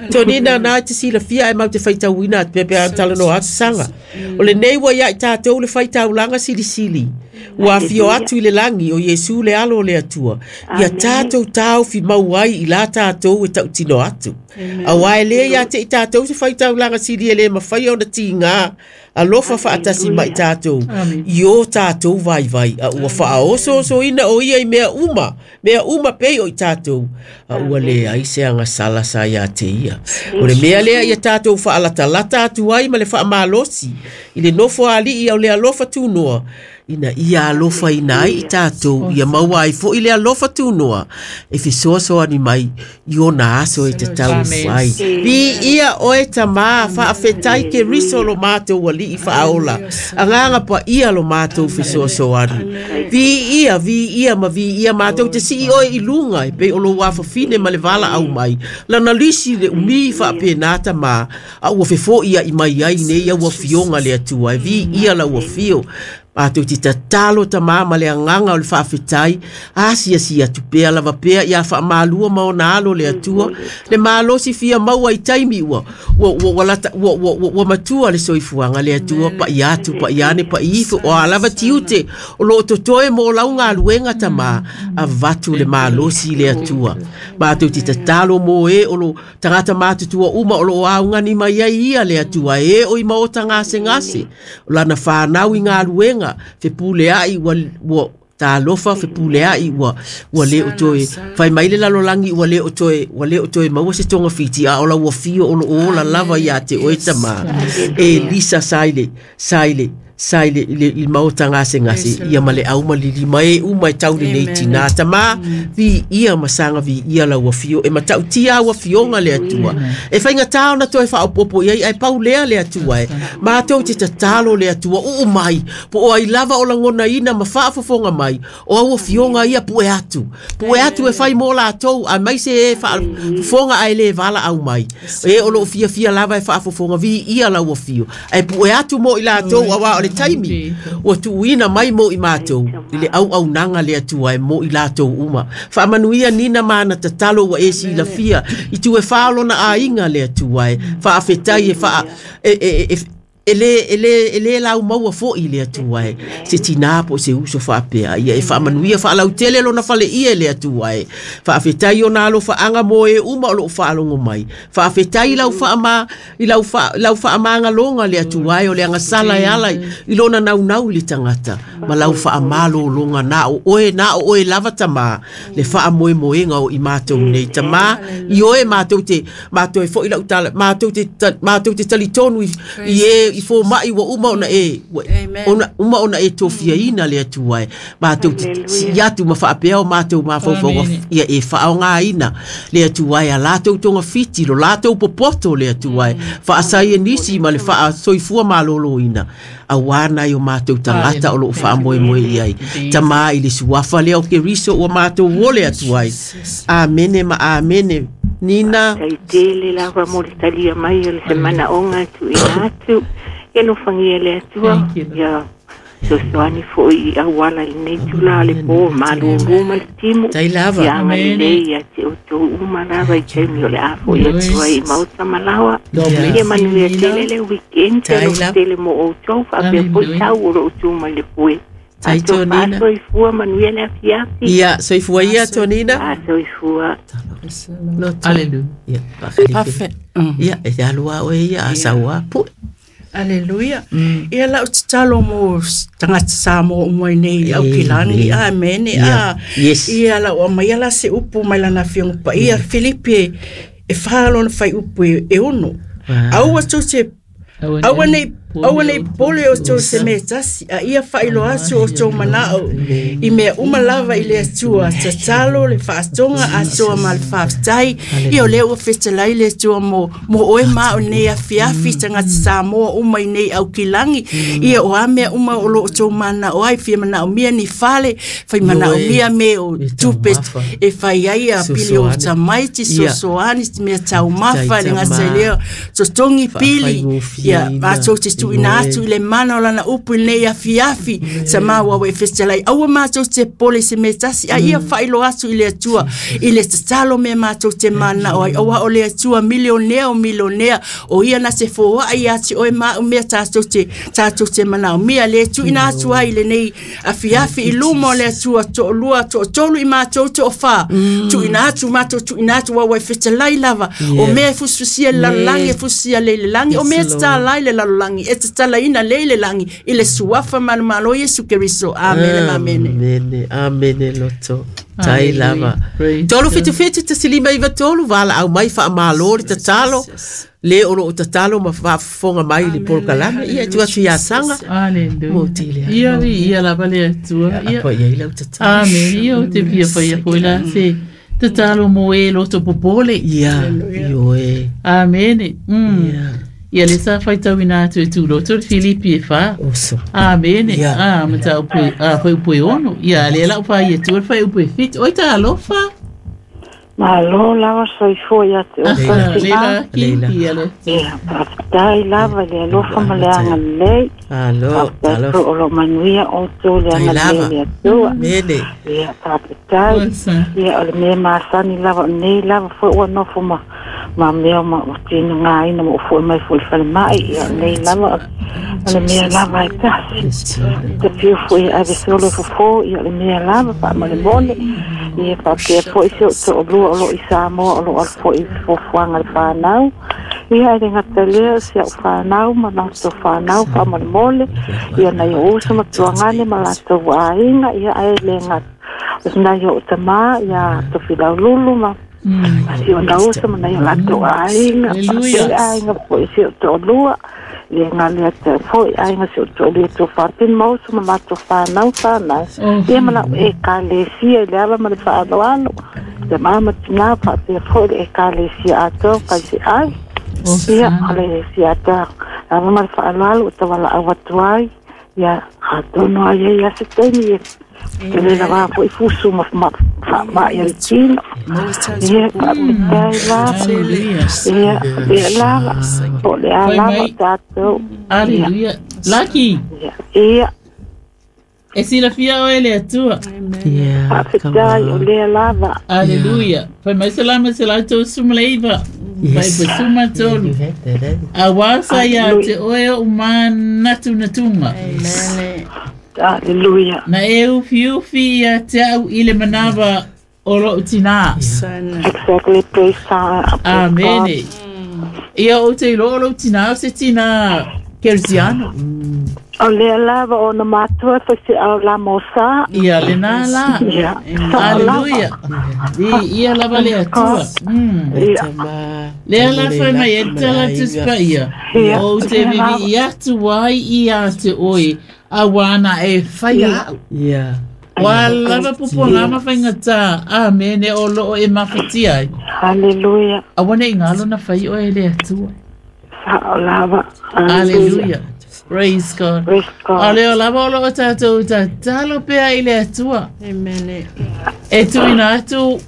C: Tonina na te silafia e mau te faitauina atu pea pea talanoa atu saga. O lenei ua ia i tātou le faitaulaga silisili. Ua afio atu i le lagi o Iesu le alo o le Atua. Ia tātou taofi mau ai i la tātou e tautino atu. Auā e lē ia te i tātou se faitaulaga sili e lē mafai ona tigā alofa faatasi mai tātou i o tātou vaivai. A ua faaosoosoina o ia i mea uma, mea uma pei o i tātou. A ua leai se agasala sa iā te ia. O le mea lea ia tātou faalatalata atu ai ma le faamalosi i le nofo alii au le alofa tunoa. Ina ia alofa ina ai i tātou, ia maua ai foi le alofa tunoa e fesoasoani mai i ona aso e tatau ai. Viia oe tamā, faafetai Keriso lo mātou alii faaola. Agaga paia lo mātou fesoasoani. Viia, viia ma viia mātou te sii oe i luga e pei o lou afafine ma le valaau mai. Lana lisi le umi faapena tamā, a ua fefoʻi ai mai ai nei au afioga le Atua. E viia lau afio. Mātou te tatalo tamā ma le agaga o le faafetai, asiasi atu pea lava pea ia faamalua ma ona alo le Atua. Le malosi fia maua i taimi ua ua ua ua lata ua ua ua ua matua le soifuaga le Atua paia atu paia ane paia ifo o a lava tiute o loo totoe mo lau galuega tamā avatu le malosi i le Atua. Mātou te tatalo mo e o lo tagata matutua uma o loo augani mai ai ia le Atua e o i maota gasegase o lana whanau i galuega fepule ai ua ua talofa fepule ai ua ua le o toe fai mai le lalolagi ua le o toe ua le o toe maua se togafiti a o lau afio o loo ola lava iā te oe tamā. E lisa sai le sai le sai le i maota gasegase ia ma le au malili mai e uma e tau lenei tinā tamā. Viia ma saga viia lau afio e matautia au afioga le Atua. E faigatā ona toe faaopopo i ai ae pau lea le Atua e mātou te tatalo le Atua uu mai po o ai lava o lagonaina ma faafofoga mai o au afioga ia pue atu pue atu e fai mo latou aemaise e faafofoga ae lē valaau mai e o loo fiafia lava e faafofoga. Viia lau afio ae pue atu mo i latou auā o le taimi ua tuuina mai mo i mātou i le auaunaga le Atua e mo i latou uma. Faamanuia nina ma ana tatalo ua e silafia i tu e fā lona aiga le Atua e faafetai e faa e e e e lē e lē e lē laumaua foʻi le Atua e se tinā po o se uso faapea ia e faamanuia faalautele lona faleia e le Atua e faafetai ona alofaaga mo e uma o loo faalogo mai. Faafetai lau faama i lau fa lau faamagaloga le Atua e o le agasala e ala i lona naunau i le tagata ma lau faamalōloga na o oe na o oe lava tamā le faamoemoega o i matou nei tamā i oe matou te matou e foʻi lau tala matou te matou te talitonu i e i fōmaʻi ua uma ona e ona uma ona e tofiaina le Atua e matou te sii atu ma faapea o matou mafaufauga ia e faaaogāina le Atua e a latou togafiti lo latou popoto le Atua e faasai e nisi ma le faasoifua malōlōina auā nai o matou tagata o loo faamoemoe i ai tamā i le suafa lea o Keriso ua matou ole atu ai. Amene ma amene. Nina
F: Faafetai tele lava mo le talia mai o le se manaoga tuuina atu. Ia alofagia le Atua ia fesoasoani foi i auala i lenei tula o le pō malūlū ma le timu.
C: Tai lava.
F: Ia agalelei ia te outou uma lava i taimi o le a foʻi atu ai i maota malaoa. Ia manuia tele le weekend alofa tele mo outou faapea foi tau o loo tu mai le foe.
C: Tai Tonina.
F: Soifua manuia le afiafi.
C: Ia, soifua ia Tonina.
F: Ah, soifua.
A: Hallelujah.
C: Ia,
B: Parfait.
C: Ia, e te alua oe ia a saua pue.
B: Aleluia. Ia lau tatalo mo tagata Samoa uma i nei au kilani. Amene.
C: Yeah. Yes.
B: Ia lau amaia la se upu mai lana afioga paia Filipi e fa lona faiupu e ono. Aua tou te aua nei aua nei pole o tou se mea tasi a ia faailoa atu o tou manao i mea uma lava i le Atua tatalo le faatoga atoa ma le faafetai ia o lea ua fetalai le Atua mo mo oe ma o nei afiafi tagata Samoa uma i nei aukilagi ia o a mea uma o loo tou manao ai fia manaomia ni fale fai manaomia me o tupe e fai ai a pili o tamaiti sosoani mea taumafa le gata i lea totogi pili ia matou te tuuina atu i le mana o lana upu i lenei afiafi sa maua ua e fetalai aua matou te pole se mea tasi a ia faailoa atu i le Atua i le tatalo mea matou te manao ai aua o le Atua milionea o milionea o ia na se foai ia te oe ma au mea tatou te tatou te manaomia le tuuina atu ai i lenei afiafi i luma o le Atua toalua toatolu i matou toafa tuuina atu matou tuuina atu ua e fetalai lava o mea e fusifusia i le lalolagi e fusifusia le i le lagi o mea e tatala ai le lalolagi e tatalaina le i le lagi i le suafa manumalo Iesu Keriso. Amene. Amene.
C: Amene. Amene loto. Tai lava. Tolu fitu fitu tasilima iwa tolu vala au mai whaamalo le tatalo. Le olo o tatalo ma whaafonga mai le polokalame. Ia tu atu ia sanga.
A: Aleluia. Ia vi ia lava le Atua.
C: Ia pa ia ila tatalo.
A: Amen. Ia o te pia pa ia foi la se tatalo mo e loto popole.
C: Ia. Ioe.
A: Amene. Mm.
C: Ia.
A: Ia le sa faitauina atu e tūloto le Filipi e wha.
C: Oso.
A: Amene.
C: Ia.
A: Ah, mata upu ah fai upu e ono. Ia le lau wha ia tu fai upu e fit. Oi ta alofa.
G: Malo lava soifua ia te o
A: Ah, le la ki
C: Leila.
A: ia le.
G: Ia, faafetai lava le alofa ma le agalelei.
C: Alo.
G: Faafetai
C: Alo.
G: foi o lo manuia outou le
C: Tai
G: agalelei
C: lava.
G: le Atua.
C: Mene.
G: Ia, faafetai.
A: Osa.
G: Ia, o le mea masani lava o nei lava foi ua nofo ma ma mea ma o tino ngā ina mo foi mai foi whale mai. Ia, o nei lava o le mea lava e tasi. Te piu foi ave solo fofo, ia o le mea lava wha mo le mole. Ia, whapea foi se o te o lua o lo i Samoa o lo al foi fofuanga le whanau. Ia, e le ngata lea se au whanau ma lato whanau wha mo le mole. Ia, nai o uso ma tuangane ma lato wainga. Ia, e le ngata. O nai o tama, ia, tofilau lulu ma si o nausa ma nai o lato aiga.
A: Hallelujah.
G: Faapea aiga foi si o toalua. Le ngale te foi aiga si o toalua to faapin mausa ma lato whanau whanau.
A: Oh.
G: Ia mana e ka le sia i le ava ma le whaaloalo. Te mama tina faapea foi le e ka le sia atoa kai se ai. Ia, o le sia atoa. Ava ma le whaaloalo o tawala au atu ai. Ia, atono ai e ia se teimi e. Te le lava foi fusu ma ma ma ma ia le tino. Ia, faafetai lava.
A: Hallelujah.
G: Ia, ia lava. O le a
A: Fai
G: lava
A: mai.
G: tātou.
A: Hallelujah. Laki.
G: Ia, ia,
A: E silafia oe le Atua.
C: Ia.
G: faafetai o lea lava.
A: Hallelujah. Fai mai salama se lato sumaleiva. Fai
C: Yes.
A: pasuma tolu.
C: You had that, eh?
A: A wasa ia te oe o manatu natunga.
B: Amen.
G: Hallelujah.
A: Na e ufi ufi ia te au i le manawa o loo tina.
B: Sana.
G: Exactly, praise God. Praise God.
A: Amene. Ia o te ilo o loo tina o se tina Kersiano.
G: O lea lava o na matua foi se au la mosa.
A: Ia le nā la.
G: Ia, sao lava.
A: Hallelujah. I ia lava le Atua. Mm.
G: Ia,
C: Tama.
A: Lea la whai mai e tala tuspa ia.
G: Ia.
A: O te vivi i atu ai i a te oe. A wana e whai au.
C: Ia.
A: Wa lava pupu ngā mawhainga tā. Amene o loo e mawhatia ai.
G: Hallelujah.
A: A wana i ngalo na whai o e le Atua.
G: Sao lava.
A: Hallelujah. Praise God.
G: Praise God.
A: A leo lava o loo tātou tatalo pea i le Atua.
B: Amen.
A: E tuina atu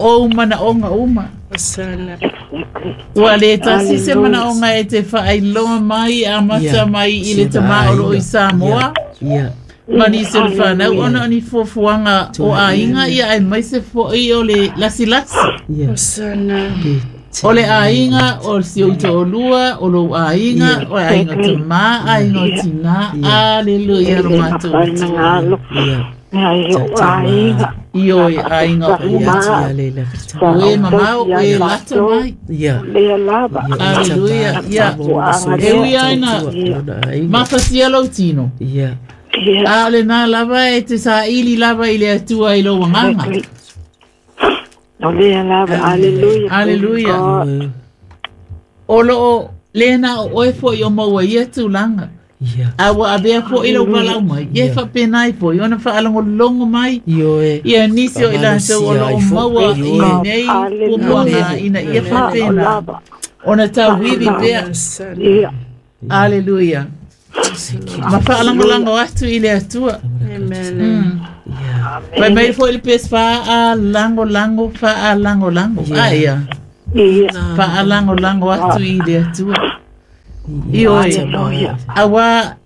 A: o mana onga uma.
B: Sana.
G: Exactly.
A: Ua le tasi se mana onga e te whaailoa mai a mata
C: Yeah.
A: mai i le tama o loo i Samoa.
C: Ia.
A: Mani se le whanau ona oni fuafuaga o aiga ia ai mai se fo'i o le lasilasi.
C: Ia.
B: Sana.
A: O le aiga o si ou to'olua, o lou aiga, o le aiga tamā, aiga o tinā. Aleluia lo
G: Le
A: matou
G: mapai na
A: Atua.
G: ngalo.
C: Ia.
G: Mea i o aiga.
A: Ioe aiga uma Ue mamau e lata mai
G: Lea lava
A: Aleluia Ia E ui aina Mafatia lau tino
C: Ia
A: A o le nā lava e te saili lava i le Atua i lou agaga
G: O lea lava Aleluia
A: Aleluia O loo lena o oe foi o maua ia tulaga
C: Ia
A: A ua avea foʻi lau valaau mai ia e faapenai foi ona faalogologo mai
C: Ioe
A: ia nisi o i latou o loo maua i lenei puapuaga ina ia faapena ona tauivi pea
G: Ia
A: Aleluia ma faalagolago atu i le Atua
B: Amen.
A: Fai mai foi le pes faalagolago faalagolago a ia
G: Ia
A: faalagolago atu i le Atua Ioe Aua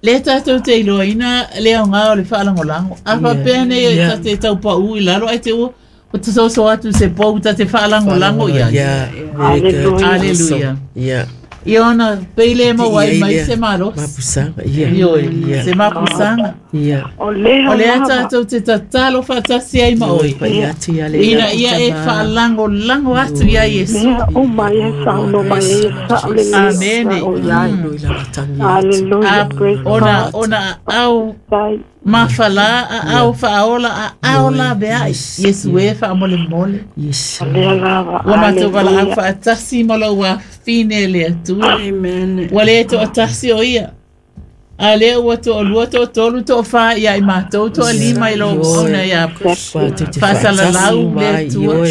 A: le tatou te iloaina le aoga o le faalagolago a faapea nei e tate taupaʻu i lalo ae te ua o te soso atu se pou tate faalagolago i ai
C: Ia very good
A: Aleluia
C: Ia
A: Ia ona pei le maua ai mai se malosi
C: Mapusaga Ia
A: Ioe se mapusaga
C: Ia
G: O lea
A: O lea
G: lava
A: tatou te tatalo faatasi ai ma oe
C: Pai atu ia le
A: ina ia e faalagolago atu ia Iesu
G: Mea uma ia saunoa mai ia sao lelei
A: Amene.
G: o iai
C: Loi la matangi
G: Aleluia
A: A
G: praise
A: ona
G: God
A: ona au
G: Tai
A: mafala a au faaola a ao laveai Iesu e faamolemole
C: Yes
G: O lea lava
A: Ua matou valaau
G: Aleluia
A: faatasi ma lou afine le Atua
B: Amen.
A: Ua le toatasi o ia A lea ua toalua toatolu toafā ia i matou toalima i lou ona ia faasalalau le Atua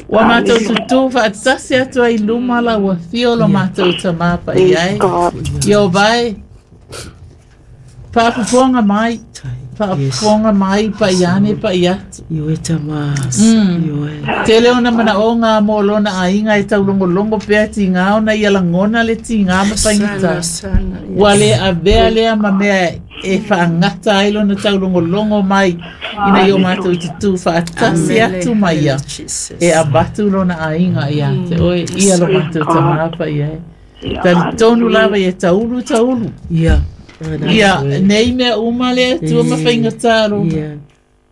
A: Ua matou tutū faatasi atu ai luma lau afio lo matou tamā paia ai
G: God
A: Ieova e faafofoga mai faafofoga mai paiane pai atu
C: Ioe tama
A: Mm.
C: Ioe
A: Tele ona manaoga mo lona aiga e taulogologo pea tigā ona ia lagona le tigā ma faigata
B: Sana.
A: Ua le avea lea ma mea e faagata ai lona taulogologo mai ina ia o matou tutū faatasi atu ma ia
B: Jesus.
A: e avatu lona aiga ia te oe ia lo matou tamā paia e talitonu lava ia taulu taulu
C: Ia
A: ia nei mea uma le Atua ma faigata lo
C: Ia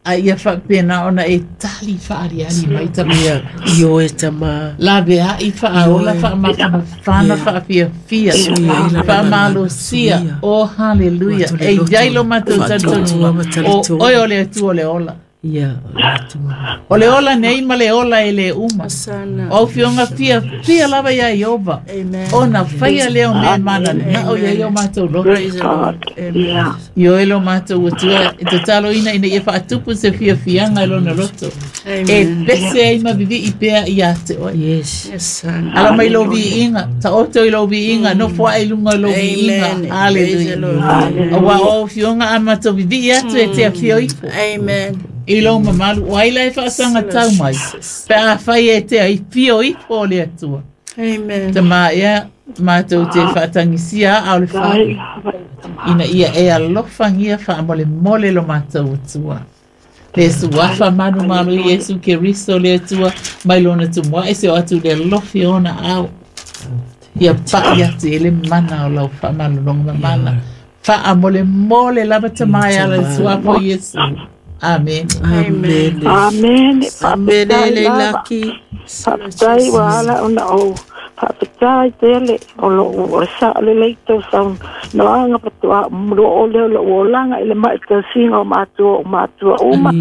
A: a ia faapena ona e tali faaliali mai tama
C: Ia Ioe tama
A: laveaʻi faaola faamafamafana faafiafia faamalosia o haleluia e iai lo matou talitonuga o oe o le Atua o le ola
C: Ia Atua
A: o le ola nei ma le ola e le uma
B: Sana.
A: o fioga fiafia lava iā Ieova
B: Amen.
A: ona faia lea o mea mananao iai o matou loto
B: Praise the Lord. Amen.
G: Ia
A: Ioe lo matou Atua e tataloina ina ia faatupu se fiafiaga i lona loto e
B: Amen.
A: pese ai ma vivii pea ia te oe
C: Yes
B: Yes, Sana.
A: Ala mai lou viiga taoto i lou viiga nofo ae i luga o lou viiga
B: Amen. Praise the
A: Aleluia
B: Lord.
A: Auā o fioga a matou vivii atu e te afio ifo
B: Amen.
A: i lou mamalu o ai la e faasagatau mai pe afai e te afio ifo o le Atua
B: Amen.
A: tamā ea matou te faatagisia a o le
G: Tai
A: fā
G: lava
A: ina ia e alofagia faamolemole lo matou Atua le suafa manu malo Iesu Keriso le Atua mai lona tumuaʻi se o atu le alofi ona ao ia paʻi atu i le mana o lau faamalologa mamana faamolemole lava tamā e ala le suafa o Iesu Amen
C: Amen
G: Amen
C: Amen
G: Faafetai
C: le
G: lava
C: laki
G: Faafetai ua ala ona ou faafetai tele o lou o sao lelei tou saunoaga patoa lo o lea o lou olaga i le maʻi tausiga o matua o matua uma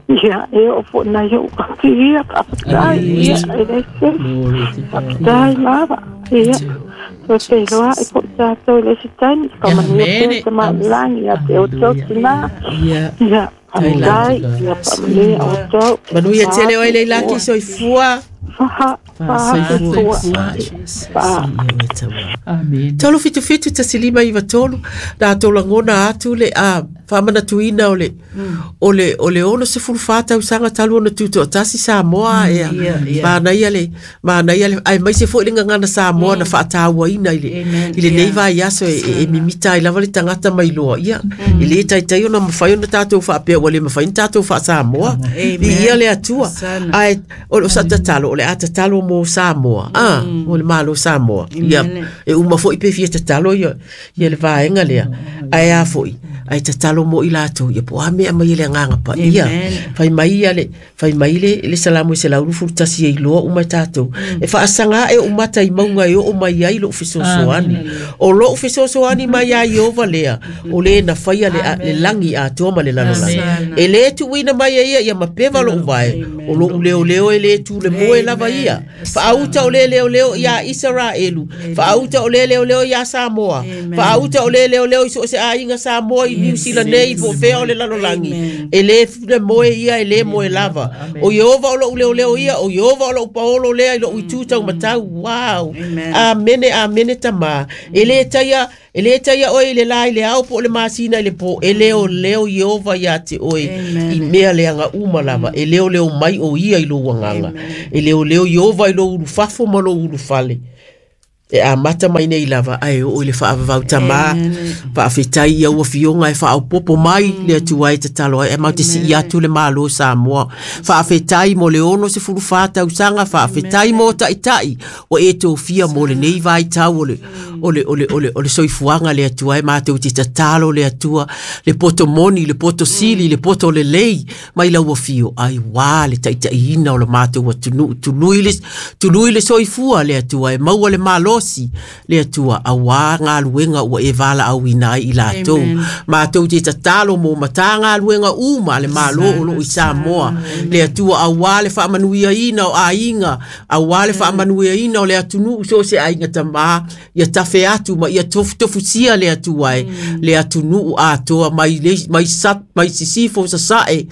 G: ia e oo foʻi nai ou ati ia faafetai ia e le tele
A: Glory to God
G: faafetai lava ia toe feiloaʻi foʻi tatou i le isi taimi faamanuia
A: Amen.
G: pea tamailagi ia te outou tinā
C: Ia
G: ia faafetai ia faamanuia outou
C: Manuia tele oe le laki soifua
G: faha faha soifua faha
C: Ioe tama
A: Amen
C: Tolu fitu fitu tasi lima iwa tolu nā tō langona atu le a whāmanatuina o le o le o le ono se fulu whātau sanga talu ona tūtoa tasi Samoa ea mānaia le mānaia le ai mai se foi le ngangana Samoa na whaatāuaina i le
B: Amen.
C: i le nei vai aso e, e, e mimita ai lava le tangata mai loa ia i le taitai ona mawhai ona tātou whaapea ua le mawhai na tātou wha Samoa
B: Amen.
C: i ia le atua
B: Sana.
C: ai o, o sa tatalo o le a tatalo mo Samoa ah o le malo Samoa ia
B: Amen.
C: e uma foi pe fia tatalo ia ia le vaenga lea ai a foi Ai tatalo mo i latou ia po a mea mai le agaga paia. Fai mai ia le fai mai le le Salamo se lau lufu tasi e iloa uma tatou. E faasaga e umata i mauga e oo mai ai lou fesoasoani. O lou fesoasoani mai ia Ieova lea, o le na faia le, le lagi atoa ma le lalolagi. E le tuuina mai e ia ia mapeva lou vae, o lou leoleo e le tu le moe lava ia. Faauta o le leoleo ia Isaraelu, faauta o le leoleo ia Samoa, faauta o le leoleo i so o se aiga Samoa i Niu Sila nei po o fea o le lalolagi. E le le moe ia e le moe lava. O Ieova o lou leoleo ia, o Ieova o lou paolo lea i lou itu taumatau. Wow. Amene, amene tamā. E le taia, e le taia oe i le la i le ao po o le masina i le po. E leoleo Ieova ia te oe i mea leaga uma lava. E leoleo mai o ia i lou agaga. E leoleo Ieova i lou ulufafo ma lou ulufale. E amata mai nei lava ae oo i le faavavau tamā. Faafetai ia ua fioga e faaopopo mai le Atua e tatalo ai e matou te sii atu le Malo Samoa. Faafetai mo le ono sefulu fa tausaga, faafetai mo taitai ua e tofia mo lenei vaitau o le o le o le o le o le soifuaga le Atua e matou te tatalo le Atua, le poto moni, le poto sili, le poto lelei mai lau afio ai uā le taitaiina o le matou atunuu. Tului le tului le soifua le Atua e maua le malosi le Atua auā galuega ua e valaauina ai i latou. Matou te tatalo mo matagaluega uma a le Malo o loo i Samoa le Atua, auā le faamanuiaina o aiga, auā le faamanuiaina o le atunuu so o se aiga tamā ia tafe atu ma ia tofutofusia le Atua e le atunuu atoa mai le mai sat mai sisifo sasae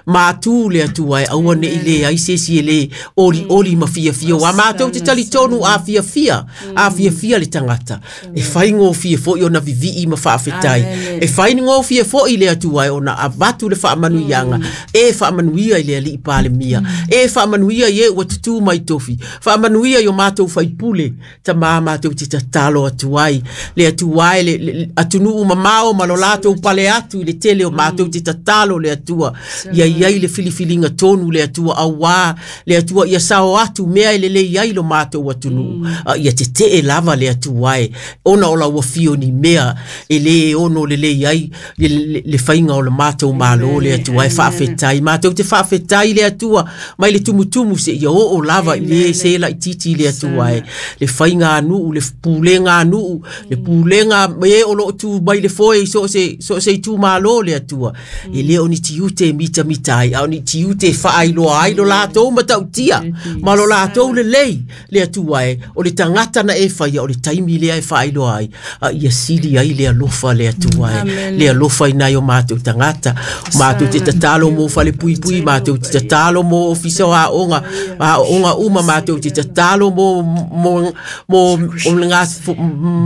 C: matu le Atua e aua nei le ai se isi e le oli oli ma fiafia. Ua matou te talitonu a fiafia, a fiafia le tagata e faigofie foi ona vivii ma faafetai. E faigofie foi le Atua e ona avatu le faamanuiaga e faamanuia i le alii Palemia, e faamanuia i e ua tutū mai tofi, faamanuia i o matou faipule tamā. Matou te tatalo atu ai le Atua e le, le atunuu mamao ma lo latou pale atu i le tele o matou te tatalo le Atua ia iai le filifiliga tonu le Atua, auā le Atua ia sao atu mea e lelei ai lo matou atunuu. A ia tetee lava le Atua e ona o lau afio ni mea e lē ono lelei ai le, le, le faiga o le matou Malo le Atua e. Faafetai, matou te faafetai le Atua mai le tumutumu seia oo lava i le se laititi le Atua e le faiga anuu, le pulega anuu, le pulega e o loo tu mai le foe i so o se so o se itumalo le Atua. E lē o ni tiute e mitamita ai, a o ni tiute e faailoa ai lo latou matautia ma lo latou lelei le Atua e. O le tagata na e faia o le taimi lea e faailoa ai, a ia sili ai le alofa le Atua e le alofa i nai o matou tagata. Matou te tatalo mo fale puipui, matou te tatalo mo ofisa o aoga, aoga uma, matou te tatalo mo mo mo o le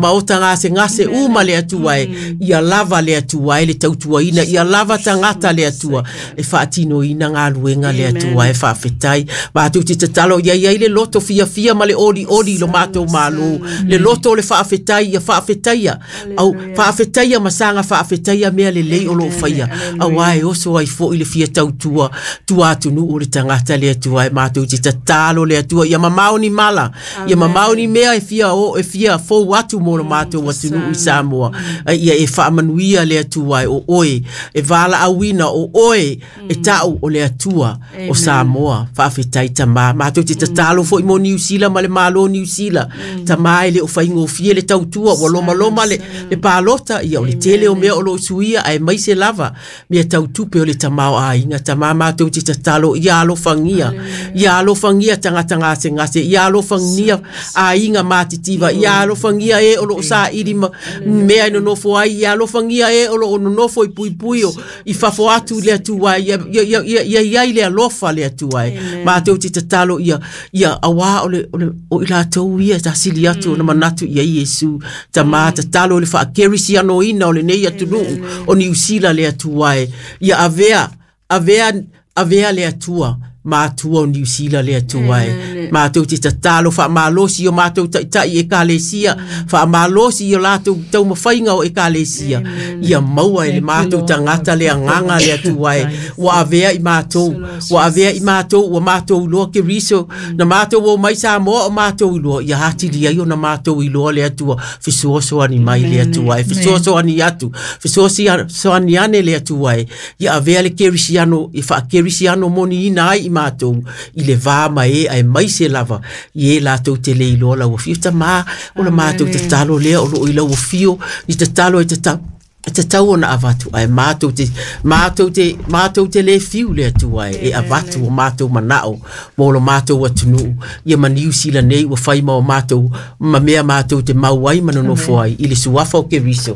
C: maota gasegase uma le Atua e. Ia lava le Atua e le tautuaina, ia lava tagata le Atua e faatinoina galuega le Atua e. Faafetai, matou te tatalo ia iai le loto fiafia ma le olioli i lo matou Malo, le loto o le faafetai, ia faafetaia au faafetaia ma saga faafetaia mea lelei o loo faia, auā e oso ai foi le fia tautua tua atunuu o le tagata le Atua e. Matou te tatalo le Atua ia mamao ni mala, ia mamao ni mea e fia o e fia fou atu mo lo matou atunuu i Samoa. Ia e faamanuia le Atua e o oe e valaauina, o oe e tau o le Atua o Samoa. Faafetai tamā. Matou te tatalo foi mo Niu Sila ma le Malo Niu Sila tamā, e le o faigofie le tautua, ua lomaloma le, le palota ia o le tele o mea o loo suia ae maise lava mea tautupe o le tamaoaiga tamā. Matou te tatalo ia alofagia, ia alofagia tagata gasegase, ia alofagia aiga matitiva, ia alofagia e o loo saili ma mea e nonofo ai, ia alofagia e o loo nonofo i puipui o i fafo atu le Atua ia ia ia ia iai le alofa le Atua e. Matou te tatalo ia ia auā o le o le o i latou ia tasili atu ona manatu ia Iesu tamā. Tatalo le faakerisianoina o lenei atunuu o Niu Sila le Atua e. Ia avea avea avea le Atua matua o Niu Sila le Atua e. Mātou te tatalo whaamalosi o mātou taitai e kalesia, whaamalosi o lātou taumawhainga o e kalesia. Ia maua e le mātou tangata le anganga le atua e. Ua avea i mātou, ua avea i mātou, ua mātou iloa ke riso, na mātou o mai Samoa o mātou iloa, ia hatili ai o na mātou iloa le atua, fesoasoani mai le atua e, fesoasoani atu, fesoasoani ane le atua e. Ia avea le kerisiano, i whaakerisiano moni ina ai i mātou, i le vā mai e ai mai se lava, i e lātou te le iloa lau afio. Tamā, o la mātou te talo lea, o lo i lau afio, i te talo e te tau, te tau ona avatu, ai mātou te, mātou te, mātou te le fiu le atua e, e avatu o mātou manao, mō lo mātou atunu, ia maniu sila nei, ua whaima o mātou, ma mea mātou te mau ai manonofo ai, i le suafa o ke riso.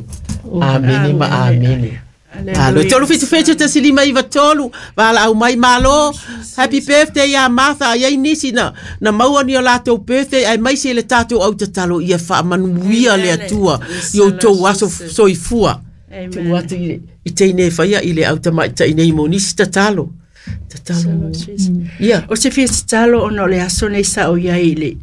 C: Amene ma amene. Alo, tolu fitu fitu tasi lima iwa tolu, wala au mai malo, happy birthday ia Martha, ai ai nisi na, na maua ni o lātou birthday, ai mai se le tātou au tatalo, ia whaamanuia le atua, i o tau aso soifua. Tu atu i, i teine whaia i le au tamai tainei mo nisi tatalo. Tatalo. Ia.
B: O se fia tatalo ona o le aso nei sa o iai le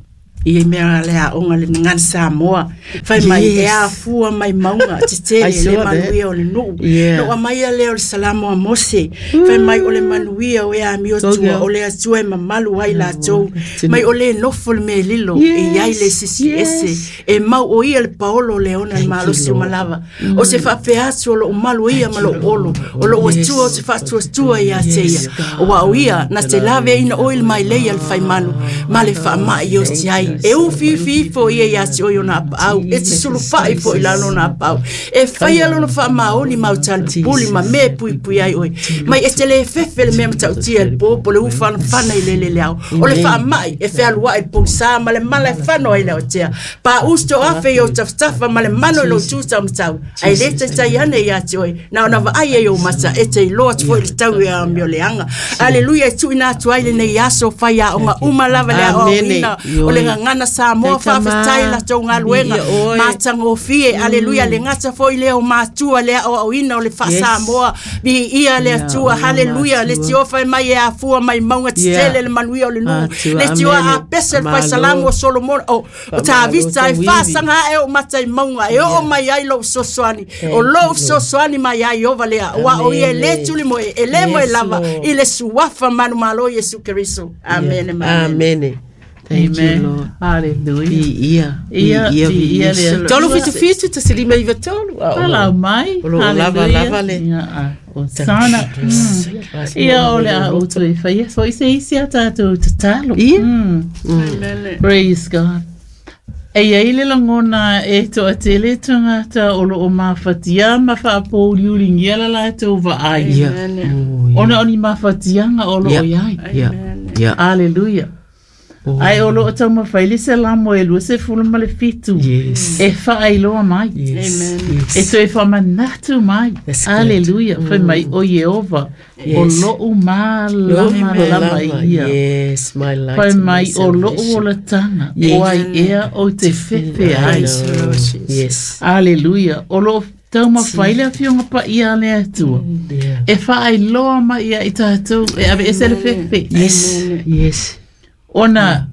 B: i e mea le aonga le ngana Samoa. Fai mai e afua mai maunga, te tele le manuia o le nuu. No a mai a leo le salamo a Mose. Fai mai o le manuia o e a mio tua, o le atua e mamalu ai la tou. Mai o le nofo le me lilo, e iai le sisi ese. E mau o ia le paolo le ona le malosi o malava. O se whaapea atu o lo umalu ia ma lo olo. O lo atua o se whaatuatua ia te ia. O wa o ia, na te lave ina oil mai leia le whaimanu. Ma le whaamai o te ai. E ufi ufi fo ia ia te oio nā paau. E te sulufai fo i lalo nā paau. E whai alono wha maoli mau tali puli ma me pui pui ai oi. Mai e te le fefe le mea matautia le pōpo le uwhana whana i lele le au. O le wha mai e whealua i pōsa ma le mala e whano ai leo tea. Pa usto afe i o taftafa ma le mano i lo tūta matau. Ai le te tai ane ia te oi. Na ona vaai e o mata e te iloa atu fo i le tau e a mio leanga. Aleluia e tuina atu ai le nei aso whai a onga uma lava le ao ina. O le ngana Samoa whawhetai la tau ngaluenga mātangofie, aleluia le ngata foi leo mātua le ao au ina o le wha Samoa mi ia le atua, haleluia le tiofa e mai e afua mai maunga titele le manuia o le nuu le tioa a pese le whaisalamu o Solomon o Tavita e whasanga e o matai maunga e o mai ai lou sosoani o lou sosoani mai ai ova lea wa o ia le tuli moe e le moe lava i le suafa manu malo Yesu Kristo. Amen.
C: Amen. Thank
A: Amen.
C: you, Lord.
A: Hallelujah.
C: Ia,
A: ia,
C: ia,
A: ia, ia.
C: Tolu fitu fitu tasi lima iwa tolu.
A: Palau mai.
C: O lo lava lava le.
A: Ia, o sana. Ia o le a utu e whaia. So ise isi a tātou tatalo.
C: Ia.
A: Mm. Praise God. E ia ile langona e toa tele tangata o lo o mawhatia ma whaapōriuringia la lātou vaai.
C: Ia.
A: Ona oni mawhatianga o lo o iai.
C: Ia. Ia.
A: Hallelujah.
C: Oh.
A: Ai o lo o taumawhai le se lamo e lua se fulu ma le fitu.
C: Yes.
A: E whaailoa mai.
C: Yes.
B: Amen.
C: Yes.
A: E toe whamanatu mai.
C: That's good.
A: Hallelujah. Mm. Whai mai o Yehova.
C: Yes.
A: O lo u malama lama ia.
C: Yes, my light.
A: Whai
C: and my
A: mai o lo u
C: salvation.
A: olatanga.
C: Yes.
A: O ai ea o te fefe ai.
C: Yes.
A: Hallelujah. O lo taumawhai le awhionga pa ia le atua.
C: Yeah.
A: E whaailoa mai ia i tātou. E awe ese le fefe.
C: Yes. Yes.
A: Ona,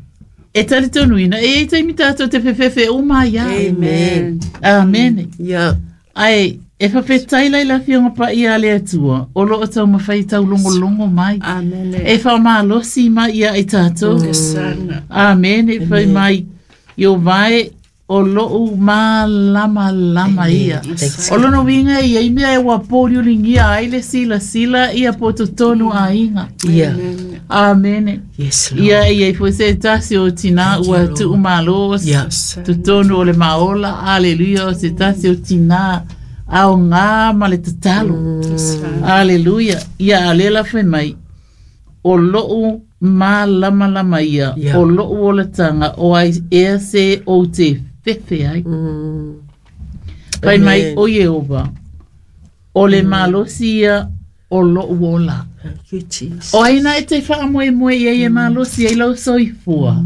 A: e tali tonu ina, e e taimi tātou te whewhewhe o mai ia.
C: Amen.
A: Amen.
C: Yeah.
A: Ai, e whawhetai lai la whionga pa ia le atua, o lo o tau mawhai tau longo longo mai.
B: Amen.
A: E whamalosi mai ia i tātou.
B: Sana.
A: Amen. E whai mai, i o vai, o lo u malama lama ia.
C: Thanks.
A: O lono winga ia, i mea e wapōriuringia ai le sila sila ia po totonu a inga.
C: Yeah.
A: Amen.
C: Yes, Lord.
A: Ia ia i foi se tasi o tina
C: Thank you,
A: ua
C: Lord.
A: tuu malo
C: Yeah.
A: totonu o le maola, hallelujah, o se tasi o tina ao ngā ma le tatalo. Hallelujah. Ia alela whai mai, o lou malamalama ia,
C: Yeah.
A: o lou olatanga o ai ea se o te fefe ai.
C: Mm.
A: Whai mai
C: Amen.
A: o Yehova, o le malosi ia o lou ola.
C: Thank you, Jesus.
A: O aina e te whaamoe moe ia e malosi ai lau soifua.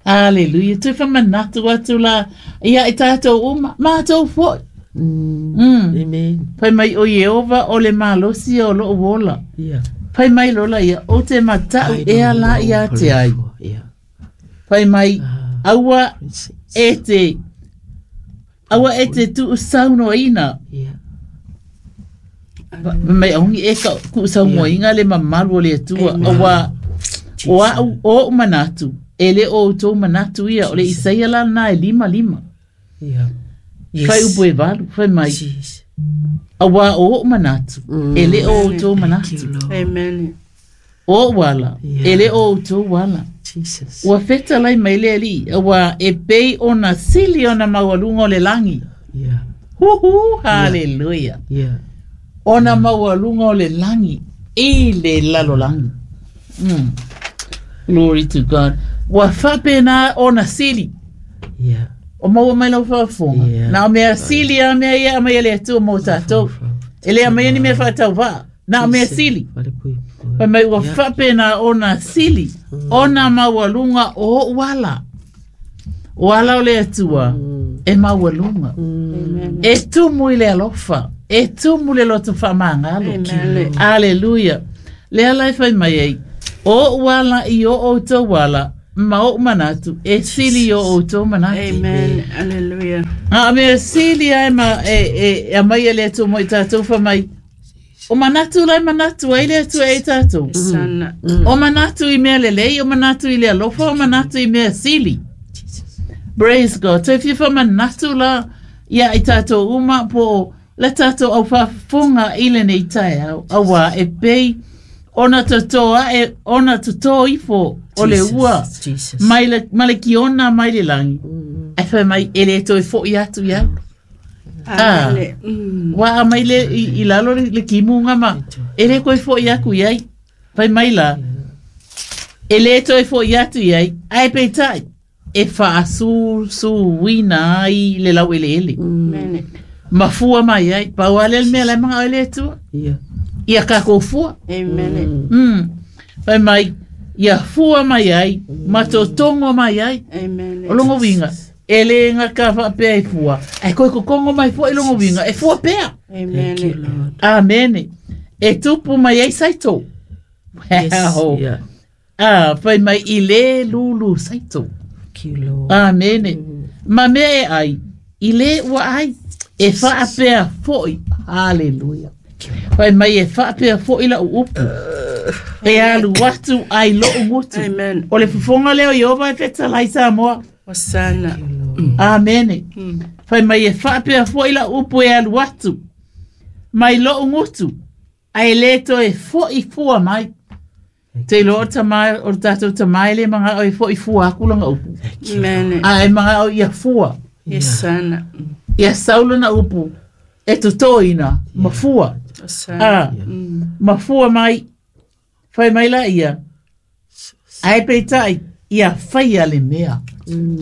A: Hallelujah. Tui whamanatu atu la ia i tātou o ma, mātou foi.
C: Mm.
A: Mm.
C: Amen.
A: Pai mai o Yehova o le malosi o lou ola.
C: Yeah.
A: Pai mai lola ia o te matau
C: Ai
A: e
C: no
A: ala ia te ai.
C: Yeah.
A: Fai mai aua e te aua e te tuusaunoaina. Mai aungi e ka kuusaunoaina le mamalu o le Atua. Aua o au o manatu e le o outou manatu ia o le Isaia la na e lima lima. Fai upu e valu, fai mai. Aua o ou manatu e le o outou manatu.
B: Amen.
A: O wala e le o outou wala.
C: Jesus.
A: Ua feta lai mai le ali, ua e pei ona sili ona maualuga o le lagi.
C: Yeah.
A: Huhu, hallelujah.
C: Yeah.
A: Ona maualuga o le lagi, i le lalolagi. Mm. Glory to God. Ua faapena ona sili.
C: Yeah.
A: O maua mai lau faafofoga.
C: Yeah.
A: Na o mea sili a mea ia a mai e le Atua mo tatou. E le a mai ni mea faatauvaa. Na o mea sili. Fai mai ua faapena ona sili, ona maualuga o ou ala. O ala o le Atua e maualuga. E tumu i le alofa, e tumu le loto faamagalo. Aleluia. Le ala e fai mai ai, o ou ala i o outou ala, ma ou manatu, e sili i o outou manatu.
B: Amen. Hallelujah.
A: A mea sili ai ma e, e, e amai e le Atua mo i tatou fai mai, o manatu lai manatu ai le Atua e tatou.
B: Sana.
A: O manatu i mea lelei, o manatu i le alofa, o manatu i mea sili. Praise God. Te fia manatu la ia i tatou uma po le tatou au faafofoga i lenei taeao. Aua e pei ona totoa e ona toto ifo o le ua
C: Jesus.
A: mai le, ma le kiona mai le lagi. Ai fai mai e le toe fo'i atu ia. Ah.
B: Amen. Mm.
A: Wa mai le i, i lalo le, le kimunga ma e le koe fo'i aku iai. Fai mai la. E le toe fo'i atu iai. Ai peitai. E faasusuina ai le lau ele ele.
B: Amen.
A: Mafua mai ai. Pau ale le mea lai manga o le Atua.
C: Yeah.
A: Ia kako fua.
B: Amen.
A: Mm. Fai mai. Ia fua mai ai. Ma totongo mai ai.
B: Amen.
A: O longo winga. E le ngā ka whaapea e fua. Ai koe kokongo mai fua i longo winga. E fua pea.
B: Amen.
C: Thank you, Lord.
A: Amene. E tupu mai ai saito.
C: Yes.
A: Wow.
C: Yeah.
A: Ah, fai mai i le lulu saito.
C: Thank you, Lord.
A: Amene. Ma mea e ai, i le ua ai, e whaapea foi. Hallelujah. Fai mai e whaapea foi la upu. E alu atu ai loo ngutu.
B: Amen.
A: O le fufonga leo Iova e fetalai Samoa.
B: Hosanna.
A: Amene.
B: Mm.
A: Fai mai e whaapea foi la upu e alu atu. Mai loo ngutu. Ai le toe foi fua mai. Te loa o tamai, o tātou tamai le manga o e foi fua aku langa upu.
B: Amen.
A: A e manga o ia fua.
B: Hosanna.
A: Ia saula na upu. E totoina, mafua.
B: Hosanna.
A: Ah,
B: Mm.
A: mafua mai. Fai mai la ia. Ai peitai, ia whaia le mea.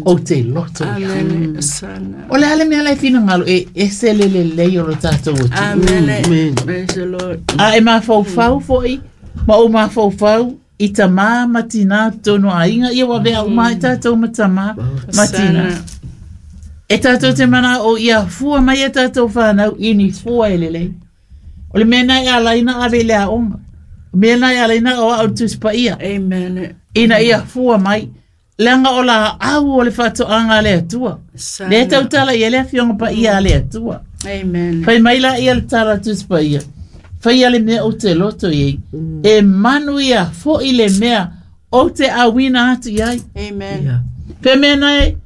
A: O te loto ia.
B: Amen. Hosanna.
A: O le ale mea lai whina e ese le le lei o lo tātou o tu.
B: Amen.
C: Amen.
B: Praise the Lord.
A: A e mafaufau foi, ma o mafaufau i tamā matina tono a inga, ia wawea uma i tātou ma tamā matina.
B: Hosanna.
A: E tātou te mana o ia fua mai e tātou whānau i ni fua e lelei. O le mea nei a laina ave le aonga. O mea nei a laina o au tuspa ia.
B: Amen.
A: Ina ia fua mai. Leanga o la au o le whatoanga le atua.
B: Hosanna.
A: Le tautala ia le afionga pa ia le atua.
B: Amen.
A: Fai mai la ia le tala tuspa ia. Fai ia le mea o te loto iei. E manu ia foi le mea o te awina atu iai.
B: Amen.
C: Yeah.
A: Pe mea nei,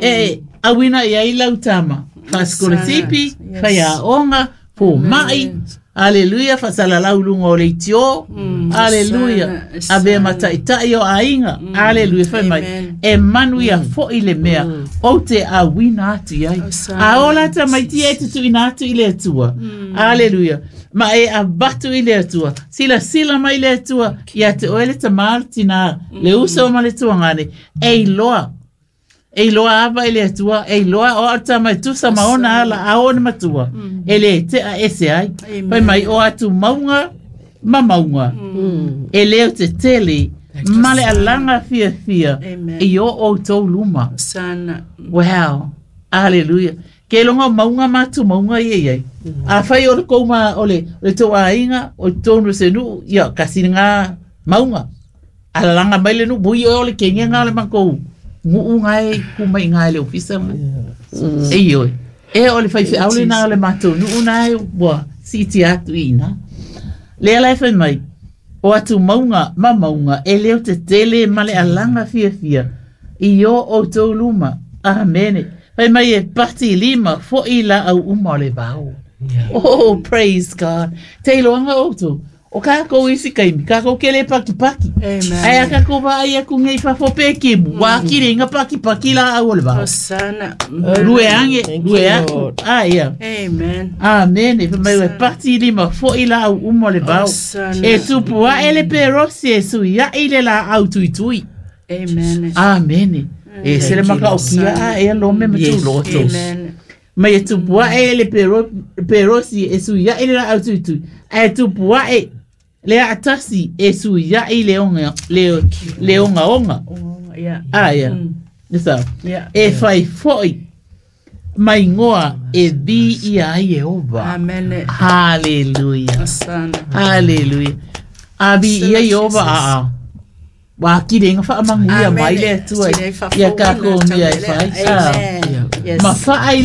A: e awina iai lau tama. Whaskola tipi,
B: Yes.
A: whai aonga, pō mai. Aleluia, whasalalau lunga o le itio.
B: Mm.
A: Aleluia.
B: Hosanna,
A: Ave
B: Hosanna.
A: mataitai o ainga. Aleluia, whai mai.
B: Amen.
A: E manu ia foi le mea o te awina atu iai.
B: Hosanna.
A: A ola tamaiti e tutuina atu i le Atua. Aleluia. Ma e avatu i le Atua. Sila sila mai le Atua. Ia te oe le tamā tina. Le uso ma le tuangane. E iloa. E iloa ava i le Atua. E iloa o ata mai tusa ma ona ala a ona matua. E le te a ese ai.
B: Amen.
A: Pai mai o atu maunga ma maunga. E leo te tele. Ma le alanga fia fia.
B: Amen.
A: E o o tau luma.
B: Hosanna.
A: Wow. Hallelujah. Ke longa maunga matu maunga ia ia. A whai o le kouma o le, o le tau ainga, o tonu se nu, ia, kasi ngā maunga. Alalanga mai le nu, bui o le kenge ngā le makou. Nguu ngai ku mai ngai le ofisa mo. E ioi. E o le fai fe aule na o le matou nuu na e ua siti atu ina. Lea lai fai mai. O atu maunga ma maunga e leo te tele ma le alanga fia fia. I o o tō luma. Amene. Fai mai e pati lima fo i la au uma o le vao. Oh, praise God. Te iloanga outou. O kākou isi kaimi, kākou kele paki paki.
B: Amen.
A: Ai a kākou wa ai aku ngei fafo pe kimu. Wa kire inga paki paki la au o le vao.
B: Hosanna.
A: Rue ange,
C: Thank
A: rue
C: you,
A: aku.
C: Lord.
A: Ah, ia.
B: Amen.
A: Amen. E mai e pati lima fo i la au uma o le vao.
B: Hosanna.
A: E tupu a ele pe rosi e sui a ile la au tui tui.
B: Amen.
A: Amen. E sele maka o kia a e lome ma
C: Yes.
A: tu loto.
B: Amen.
A: Mai e tupu a ele pero perosi e sui a ile la au tui tui. E tupu a e le atasi e sui a ile onga le le onga onga.
B: Oh, yeah.
A: Ah ia.
B: Mm.
A: Nisa.
B: Yeah.
A: E fai foi mai ngoa e vi ia ai e ova.
B: Amen.
A: Hallelujah.
B: Hosanna.
A: Hallelujah. A vi ia i ova a a. Wa kire nga wha manguia mai le atua. Ia kako mea e whai. Ah.
B: Amen. Yes.
A: Ma whaai